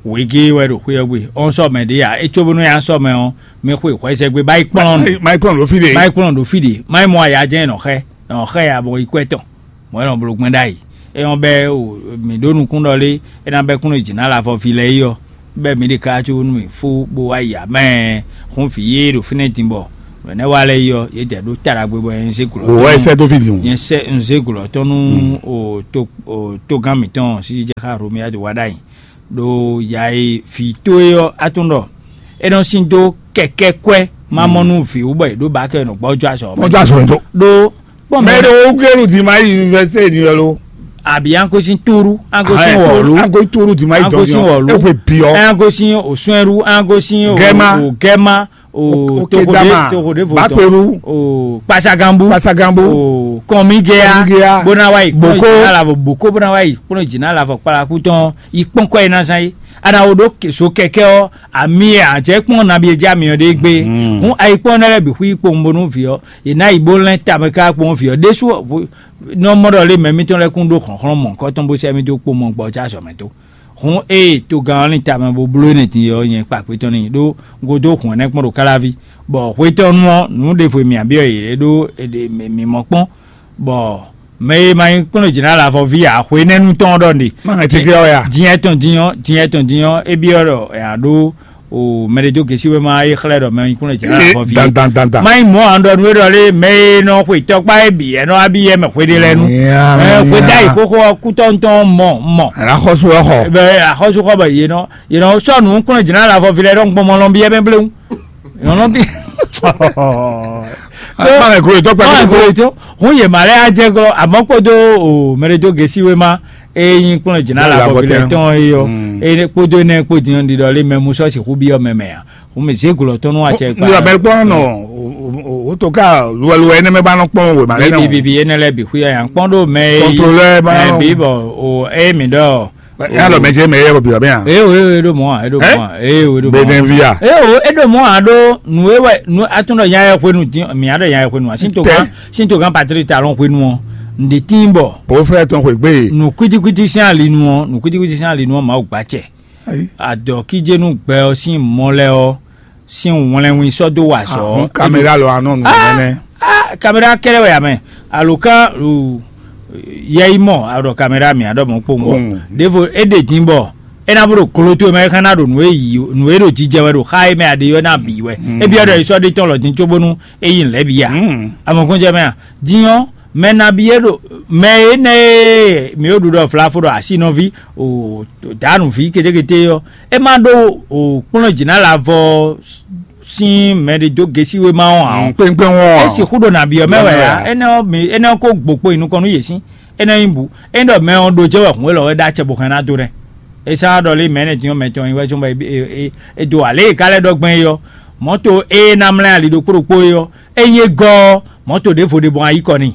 wěgé wɛ ɖo xwé ɔ́ gbe. Ɔ́n sɔ mɛ ɖě ǎ, é cóbónú nyi sɔ mɛ ɔ́, mi xwe hwɛzɛgbe bá yi kplɔ́n nǔ. Má yi kplɔ́n ɖo fí ɖe. Má yi kplɔ́n ɖo fí ɖe. Má yi mɔ aya jɛ́n nɔ xɛ, nɔ xɛ ya bɔ yi kwɛ tɔn. Mɔ̌ é nɔ bló gbɛn ɖ'ayǐ. É nyɔ́ bɛ́ o, mǐ ɖó nukún ɖɔ lé, é ná bɛ́ kún ɖo jǐ ná lavɔ ví lɛ́ɛ yi ɔ́, bɛ́ mǐ ɖe káká có nú mì fó bó wá yi ǎ mɛ. Xún vǐ yé ɖo fínɛ́ din bɔ nǔ énɛ́ wa lɛ́ɛ yi ɔ́, yě dɛ ɖó ta ɖagbe bɔ nyɛ zé gǔlɔ. Wɔ ɛ sɛ dó fí din. Nyɛ sɛ un zé gǔlɔ tɔn nú o tó o tógán mǐtɔn sísí jɛ xá Romia do wá ɖ'ayǐ. Ɖo ya e vǐ towe ɔ́ atún ɖɔ é nɔ sín dó kɛkɛ́ kwɛ́ má mɔ nú vǐ wú bɔ è ɖǒ ba kɛ nɔ gbɔjɔ azɔ. Gbɔjɔ azɔ mɛ tó. Ɖó kpɔn mɛ ɖo gɛlu di ma yi université ni yɔ lo. Àbí an ko sín túrú, an ko sín wɔ̀lú, an ko túrú di ma yi an ko sín dɔn wɔ̀lú, e ko biɔ. An ko sín òsúnɛrú, an ko sín Gɛma. Gɛma, o Okedama, toxode toxode votɔ, Bakperu, o kpasagambu, Kpasagambu, o kɔnmigea, Kɔnmigea, bona wa yi Boko. Kpɔnɔ jina lavɔ boko bona wa yi kpɔnɔ jina lavɔ kpalaku tɔn yi kpɔnkɔ yi na zan yi. Ana wo ɖo so kɛkɛ ɔ ami yɛ àjẹ kpɔn nabi edzi ami ɔ ɖe gbe. Hun ayi kpɔn ne lɛ bi hu yi kpɔn bonu vi ɔ yi na yi bo lɛn tame ka kpɔn vi ɔ ɖesu nɔ mɔ ɖɔ lé mɛ mitɔn lɛ kún ɖo xlɔnxlɔn mɔ kɔtɔn bo sɛ mi do kpɔn mɔ gbɔ ja zɔ mɛ to. Hun eye togán ɔ́ lin tamɛ bó bló énɛ́ din ɔ́ nyɛ kpa xwetɔ́ n'i ɖó godo hun ɛnɛ́ kpɔ́n ɖo káláví, bɔ xwetɔ́nu ɔ́ nǔ ɖěvo e mǐ byɔ́ yě ɖó è ɖe mǐ mɔ kpɔ́n, bɔ mɛ e ma nyí kplɔ́n jǐ ná lavɔ ví ǎ, xwénɛ́nu tɔn ɔ́ ɖɔ nɖe. Má hɛn teke ɔ́ ya. Din etɔn din ɔ́, din etɔn din ɔ́, é byɔ́ ɖɔ è nǎ ɖó o mɛ ɖé dó gěsí wéma é xlɛ́ ɖɔ mɛ e nyí kplɔ́n jǐ ná lavɔ ví é. Dan dan dan dan. Má nyí mɔ̌ ǎ ɖɔ nú é ɖɔ lé mɛ e nɔ xwe tɔkpá é bǐ, é nɔ wá bí yɛ mɛ xwe ɖé lɛ́ɛ nu. Nya, nya. Xwe dá yi xóxó ɔ́ kútɔ́ ŋutɔ́ mɔ mɔ. Àná xɔ́sú ɔ́ xɔ. Bɛ axɔ́súxɔ bɔ yě nɔ yě nɔ sɔ́ nǔ kplɔ́n jǐ ná lavɔ ví lɛ́ɛ ɖɔ gbɔmɔ lɔn byɔ́ mɛ bléwu. Yɔnɔ bí. Báwo kúrò tó pẹ̀lú Báwo kúrò tó? Hún yè má lɛ á jẹ́ gɔ́ àmọ́ kpódó o mɛɖé tó gesi wé má é nyí kplɔ́n jìnnà Báwo la la bɔ bɔtɛ? Tɔn é yɔ Mm. É kpódó énɛ́ kpó din ɔ́ ɖiɖɔ lé mɛ mú sɔ́ sixú byɔ́ mɛ mɛ ǎ. Hún mi zé glɔ tɔn nú acɛ kpa. Ní abẹ́lẹ́ kpọ́n nọ o tó ká luwɛluwɛ ɛnɛ mɛ bá nɔ kpɔ́n wè má lɛ Bibi nɔ. Bibi énɛ́ lɛ bǐ xú yà yà ń kpɔ́n ɖó mɛ é Contrôleur bá ɛ nɔ. Bí bɔ o é mi ɖɔ. Yà lọ mɛ jẹ́ mɛ yɛ bɔ bìbà bẹ́ẹ̀ hàn. Eo eo eɖo mɔ a eɖo mɔ a eo eɖo mɔ a. Bɛnɛvia. Eo eɖo mɔ a ɖo nu ewɛ nu atún ɖɔ nya yɛ hwenu dín mi aɖɔ nya yɛ hwenu a sin to Tɛ. Kan sin to kan Patrick talon hwenu ɔ ǹdí tín bɔ Bó fẹ́ tɔn xwe gbé. Nu kwitikwiti sín alinu ɔ nu kwitikwiti sín alinu ɔ Mawu gba cɛ. Ayi. Adɔ kíjénu gbɛ ɔ sín mɔ lɛ ɔ sín wlɛnwin sɔ́ dó wa azɔ̌. Ahun kamera lɔ anɔ nu nɛnɛ. Ah, kamera kɛlɛ wɛ amɛ alo kan lu yɛ yi mɔ aɖɔ kamera mi aɖɔ mɔ kpowun bɔ Mm. Ɖevo e ɖe din bɔ e na bo ɖo kolo to mɛ e xana ɖo nu e yi nu e ɖo jijɛ wɛ ɖo xa e mɛ aɖe yɔ na bi wɛ Mm. E bi aɖɔ yi sɔ ɖe tɔn lɔ din tso bonu e yi lɛ bi ya Mm. Amɔ kɔn jɛ mɛ a din ɔ mɛ na bi e ɖo mɛ e nɛ e mi o ɖu ɖɔ flafo ɖɔ asi nɔvi o danu vi ketekete yɔ e ma ɖo o kplɔn jina la vɔ sin mɛ ɖe dó gesi wéma ɔ́ ǎ ɔ́. Kpéŋkpéŋ ɔ́. Esi xú ɖo nǎ byɔ́ mɛ wɛ Byɔ́ mɛ ǎ wɛ. Énɛ́ ɔ́ mi énɛ́ ɔ́ kó gbo kpo yi nukɔn nú yě sín énɛ́ nyí bu é ɖɔ mɛ ɔ́ ɖo jɛ wɛ hun élɔ́ wɛ ɖó acɛ bó hɛn ná dó nɛ́. É sá ɖɔ lé mɛ énɛ́ din ɔ́ mɛ tɔn nyi wɛ cóbɔ é é é é do alě e ka lɛ́ ɖɔ gbɛn é ɔ́ mɔ̌to é ná mlɛ́ ali ɖokpó ɖokpó é ɔ́ é nyí é gɔ́ ɔ́ mɔ̌to ɖěvo ɖe bɔ ayí kɔ n'i.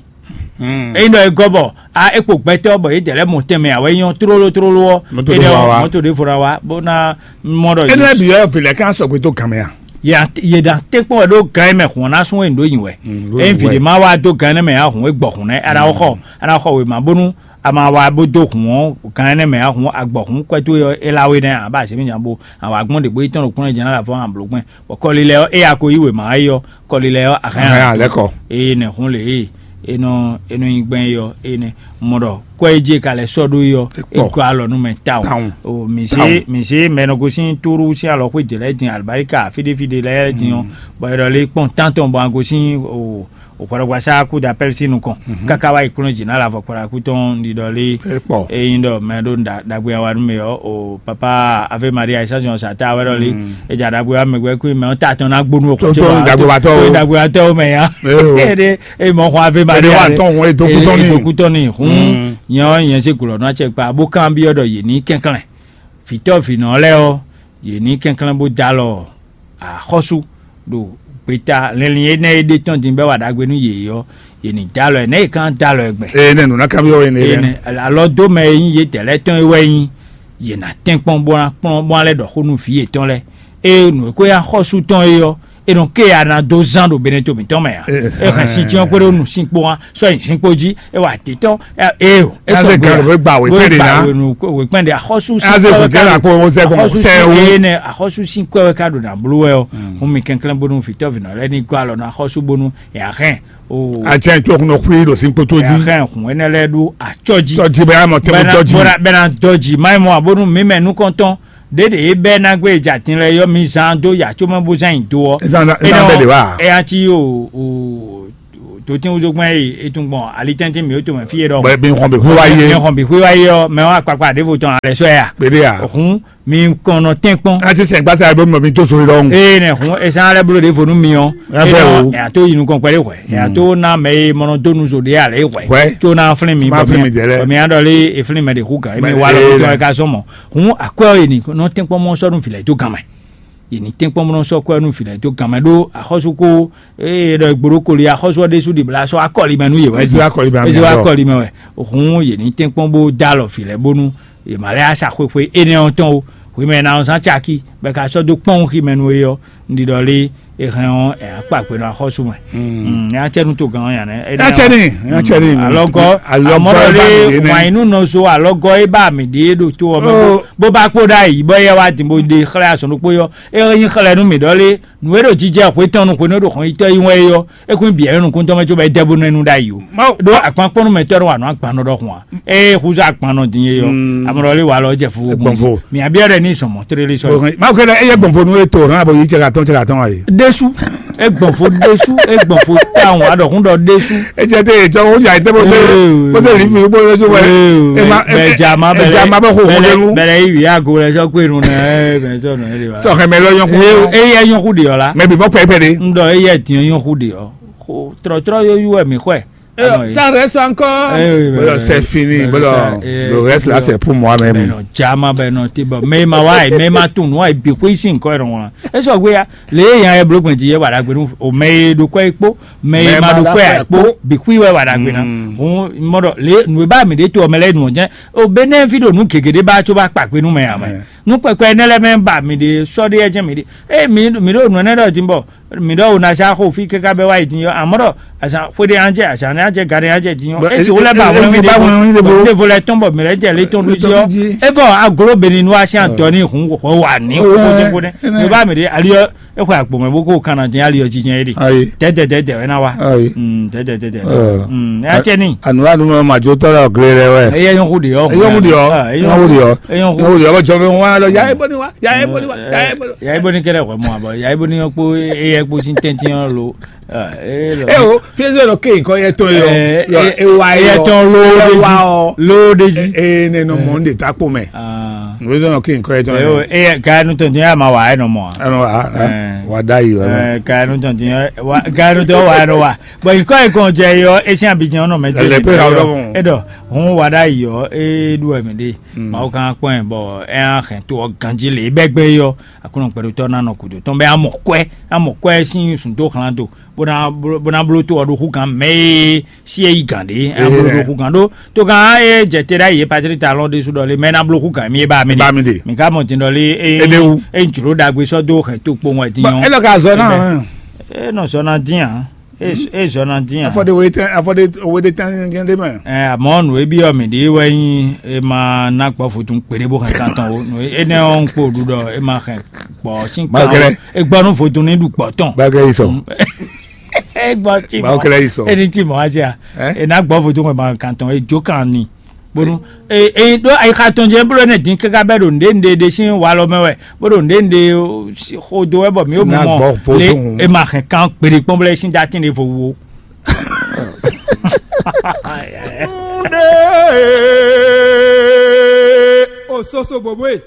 Ényí ɖɔ é gɔ́ bɔ a é kpo gbɛtɔ́ bɔ yě dɛ lɛ́ mɔ tɛnmɛ ǎ wɛ nyɔ́ tlóló tlóló ɔ́ Mɔto é ɖé ɖɔ fɔ wá. Mɔto ɖé fɔ ná wá bó ná mɔ ɖɔ Énɛ́ bǐ wɛ vǐ lɛ́ɛ ka sɔgbe dó gan mɛ a? Yě ɖa tɛ́nkpɔ́n wɛ ɖó gan e mɛ hǔn ɔ́ ná sún wɛ nǔ ɖó nyi wɛ. Mm, ló ényí nyi vǐ wɛ. Ɖé má wá dó gan énɛ́ mɛ ǎ hǔn é gbɔ hǔn nɛ́ a ná xɔ a ná xɔ wěma bónú a ma wá bó dó hǔn ɔ́ gan énɛ́ mɛ ǎ hǔn a gbɔ hǔn kwɛ́ towe ɔ́ é lá we nɛ́ ǎ bá azě mì nya bó a wǎ gbɔn ɖě bó yi tɔ́n ɖo kplɔ́n jɛ ná ɖo afɔ hàn blǒ gbɛn bɔ kɔlilɛ ɔ́ é ya ko yí wěma é ɔ́ kɔlilɛ ɔ́ a hɛn Ahɛn alɛkɔ. Eye nɛ hun le e e nɔ e nɔ nyi gbɛn yɔ e nɛ mɔ ɖɔ kɔ e je ka lɛ sɔ ɖo yɔ Ekpɔ. E gɔ alɔ nu mɛ tawun Tawun. O mi se Tawun. Mi se mɛ nɔ gosin turu si alɔ xwe de lɛ din alibarika fide fide lɛ din ɔ bɔn e ɖɔ le kpɔn tantɔn bɔn a gosin o o kɔrɔgbasa ku da pɛlisi nukɔn kaka wa yi kplɔn dzi na la vɔ kpɔra kutɔn ndi ɖɔ le Ekpɔ. Eyin ɖɔ mɛ ɖo ɖagbe awa nu mɛ yɔ o papa ave maria isasi ɔn sata wɛ ɖɔ le edza ɖagbe wa mɛ gbɛ kui mɛ ɔn ta tɔn na gbonu o Tó- kɔtɔ tó wa dagbe wa tɔ o. Dagbe wa tɔ o mɛ ya Ee o. Ede eye mɔ xɔ ave ma Ede wa tɔn hun, e do kutɔ ni. E do kutɔ ni. Hun Mm. Nyɛ ɔ nyɛ se gulɔ nɔ atsɛ kpa bo kan bi ɔ ɖɔ ye ni kɛnklɛn vitɔ vinɔ lɛ ɔ ye ni kɛnklɛn bo da lɔ axɔsu ɖo Gbeta lɛnlin énɛ́ e ɖe tɔn din bɔ é wa ɖagbe nú yě ɔ́, yě ní dó alɔ ɛ, nɛ̌ yě ka dó alɔ ɛ gbɛn? Eye nɛ nǔ ná kanbyɔ́ we ne Eye lɛ́ɛ. Nɛ alɔ dó mɛ e nyí yě tɛlɛ́ tɔn é wɛ nyí, yě ná tɛ́nkpɔ́n bó ná kplɔ́n bó ná lɛ́ ɖɔ xó nú vǐ yětɔn lɛ́ɛ. Eye nǔ e ko nyí axɔ́sú tɔn é ɔ́, é nɔ ké ya ná dó zán ɖo beneto mǐtɔn mɛ ǎ. É hɛn sin cyɔ́n kpódó nǔ sin kpó wá, sɔ́ nyi sin kpó jí, é wa titɔ́n. Eo é Ase sɔgbe gan ǎ. Ló gba wěkpɛ́n ɖé ná. Wěkpɛ́n ɖé axɔ́sú sin Ase kɔ́ wɛ kɔn ká jẹ́ ɖo- làkpó ɔmọ sẹ́ kɔn axɔ́sú sẹ́ sin o. Eye nɛ axɔ́sú sin kɔ́ wɛ ká ɖo nǎ bló wɛ ɔ́. Hun mi kɛnklɛ́n bónú vǐtɔ́vǐnɔ lɛ́ɛ ní gɔ́ alɔ nú axɔ́sú bónú yǎ hɛn o. Atsɛ tó kun nɔ xwí ɖo sín kpótó jí. Yǎ hɛn hun énɛ́ lɛ́ɛ ɖó acɔ́ jí. Tɔjí bɛ amɔ tɛmɛ Bɛna tɔjí. Bɛna bɛna dɔji mayi mɔ abonu mi mɛ nukɔntɔn ɖeɖe e bɛ na gbe jatin lɛ yɔ mi zan do ya tsomɛ bo zan yi do ɔ. Ezan ezan bɛ de wa. Eya ti o o totin wuzogbɛn yi etun gbɔn ali tɛntin mi o to mɛ fi yɛ dɔ. Bɛ bi nkɔn bi hu wa ye. Mi nkɔn bi hu wa ye ɔ mɛ wa kpakpa ɖevo tɔn alɛ sɔ ya. Bɛ de ya. Ohun mi kɔnɔ tɛnkpɔn. A ti sɛ gbasa bɛ mɔ mi to so yi dɔn. Ee nɛ hun esan alɛ bolo ɖevo nu mi ɔ. Ɛ fɛ o. Ɛ ato yi nukɔn kpɛɖe hwɛ ɛ ato na mɛ ye mɔnɔ do nu zo ɖe alɛ hwɛ. Hwɛ. Tso na flin mi. Ma flin mi jɛ lɛ. Mi adɔli eflin mɛ de hu kan emi wa lɔ tɔn ɛ ka sɔmɔ. Hun akwɛ ɔ yi ni nɔ tɛnkpɔn mɔ sɔ nu filɛ to gan mɛ. Yi ni tɛnkpɔn mɔ sɔ kwɛ nu filɛ to gan mɛ ɖo axɔsu ko eye ɖɔ gbolo koli axɔsu ɔ ɖesu ɖibla sɔ akɔli mɛ nu ye wɛ. Ezi akɔli mɛ ezi akɔli mɛ wɛ. Hun yi ni tɛnkpɔn bo da alɔ filɛ bonu ye ma lɛ asa xwexwe énɛ́ ɔ́ tɔn o. Hwi mɛ na ɔ́ zán caki bɛ ka sɔ dó kpɔ́n xi mɛ nu e ɔ́. Ndi ɖɔ lé e hɛn ɔ́ ɛ akpa gbe nɔ axɔ́sú mɛ. Mm, ya cɛ nu to gan ɔ́ ya nɛ. Ya cɛ ni, ya cɛ ni. Alɔgɔ Alɔgɔ amɔdɔ lé wanyinu nɔ so alɔgɔ e ba mi ɖe ɖo to ɔmɛ bó ba kpó ɖa yi bɔ yɛ wa din bó ɖe xlɛ asɔn ɖokpó yɔ e nyi xlɛ nu mi ɖɔ lé nu e ɖo jijɛ hwe tɔn nu hwe nu ɖo xɔn yitɔ yi wɛ yɔ e kún bi ɛyɔ nukun tɔn mɛ tso bɛ dɛ bó nɔ nu ɖa yi o. Ɖo akpan kpɔnu mɛ tɔ ɖo wa nɔ agban nɔ ɖɔ xɔn a. Eye xúzɔ agban nɔ din ye yɔ. Amɔdɔ lé wa lɔ jɛ fo. Gbɔnfo. Mi abiɔ ɖe ni sɔmɔ tere lé sɔ. Mawu kɛlɛ eye gbɔnfo nu eto hɔn abo yi cɛ ka tɔn cɛ ka tɔn ayi. Desu. Egbɔnfo desu egbɔnfo tawun aɖɔkun ɖɔ desu. Edze te etsɔ wo dza ete bó se bó se li fi bó se so wɛ. Ema ema ema bɛ xo xo lenu. Bɛlɛ yi wi ago lɛ sɔ kpe nu nɛ ɛ bɛ sɔ nɔ ɛ de wa. Sɔxɛ mɛ lɔ yɔn kun. Eye yɔn ku de ɔ la. Mɛ bi mɔ pɛpɛ de. N ɖɔ eye diɛ yɔn ku de ɔ. Trɔtrɔ yɔ yu wɛ mi xɔɛ. San reste encore. Bolo c'est fini bolo le reste là c'est pour moi même. Bɛnɔ jama bɛnɔ ti bɔ mɛ ma wa yi mɛ ma tun nua yi bi xo isi nkɔ yɛrɛ ŋɔn. Esɔ gbe ya le ye yan yɛ blo gbɛn ti yɛ wa dagbe nu o mɛ ye do kɔ yi kpo mɛ ye ma do kɔ yi kpo bi xui wɛ wa dagbe na. Hun mɔdɔ le nu ba mi de to mɛ lɛ nu jɛ o bɛ ne fi do nu gege de ba tso ba kpa gbe nu mɛ ya mɛ nu kpɛkpɛ ne lɛ mɛ ba mi de sɔ de yɛ jɛ mi de e mi mi do nu ne dɔ ti bɔ mi ɖɔ wò ná zá xo fí káká bɛ́ wá yi din ɔ́, amɔ̌ ɖɔ azǎn xwe ɖé ná jɛ azǎn ná jɛ gǎn ɖé ná jɛ din ɔ́, é ti wó lɛ́ ba wɛn wí ɖevo lɛ́ tɔn bɔ mǐ lɛ́ jɛ lé tɔn ɖu jí ɔ́, é vɔ aglo beni nú así atɔ ní hun xɔ wà ní xóxó jɛ kó nɛ mi bá mi ɖe ali ɔ́ é xɔ agbo mɛ bó kó kan ná dín ali ɔ́ jijɛ é ɖe tɛtɛ tɛtɛ wɛ ná wa tɛtɛ tɛtɛ ɛ cɛ ní. Anu anu ma ma jo tɔ lɛ gle lɛ wɛ. Eyɛ yɔn xó de yɔ. Eyɔn xó de yɔ. Eyɔn xó de yɔ. Eyɔn xó de yɔ. Bɔ jɔ mi wa lɔ ya e bɔ ni wa ya e bɔ ni wa ya e bɔ ni wa. Yayi boni kɛlɛ xɔ mɔ abɔ yayi boni yɔ kpo eye kpo sin tɛntin yɔ lo. Ee o fiɛsɛ lɔ ke nkɔ yɛ tɔn yɔ yɔ ewa yɔ eye tɔn lo ewa ɔ lo de ji. Ee ne nɔ mɔ n de ta kpo mɛ. Nwe zɔn ke nkɔ yɛ tɔn yɔ. Eye kaya nu tɔn tin ya ma wa ɛ nɔ mɔ a. Ɛnɔ wa wa da yi yɔ. Kaya nu tɔn tin yɔ kaya nu tɔn wa ɛ nɔ wa bɔn nkɔ yɛ kɔn jɛ yɔ esi abidjan nɔ mɛ jɛ. Ɛlɛ pe ha wulɔ mɔ. Edɔ hun wa da yi yɔ e ɖu ɛmɛ de. Mawu kan kpɔn ɛ bɔ ɛ hɛn to ɔ ganji le bɛ gbe yɔ. Aklúnɔ gbɛɖotɔ́ ná nɔ gǔdo tɔn bɛ amɔ kwɛ amɔ kwɛ sín sùn dó xlán do bó ná bó ná bló tó ɔ́ ɖó xú gǎn mɛ e sí é yí gǎn ɖé é ná bló ɖó xú gǎn ɖó tó gǎn é jɛ te ɖ'ayǐ é patrí ta lɔn ɖésú ɖɔ lé mɛ é ná bló xú gǎn mì é ba mi Ba mi ɖe. Mì ká mɔ din ɖɔ lé é Éɖéwu. É jlǒ ɖagbe sɔ́ dó xɛ tó kpowun wɛ din Bɔn nyɔ́. É lɔ ka zɔ ná. Ɛnɛ. É nɔ zɔ ná dín ǎ. É zɔ ná dín ǎ. Afɔ de wo etɛn afɔ de wo de tɛn jɛn de mɛ. Ɛ àmọ́ nù e byɔ́ mì ɖě wɛ nyí e ma ná gbɔ vodún kpeɖé bó hɛn kan tɔn o. Nù énɛ́ ɔ́ ń kpo ɖu ɖɔ e ma hɛn gbɔ sín kan o. E gbɔ nú vodún ní ɖu gbɔ tɔn. Bákẹ́ yìí sọ. E gbɔ tí mɔ. Bákẹ́ yìí sọ. E ní tí mɔ wá jẹ́ à. E ná gbɔ vodún hɛn ma kan tɔn e jó kan ni. Bónú e e ɖó ayixa tɔn jɛ blo ne dín káká bɛ ɖo nɖe nɖe ɖe sín walɔ mɛ wɛ bó ɖo nɖe nɖe xodo wɛ bɔ mi ó mɔ le e ma hɛn kan kpeɖe kpɔn bla e sín da tín ɖe vo wo. Ososo bobo e.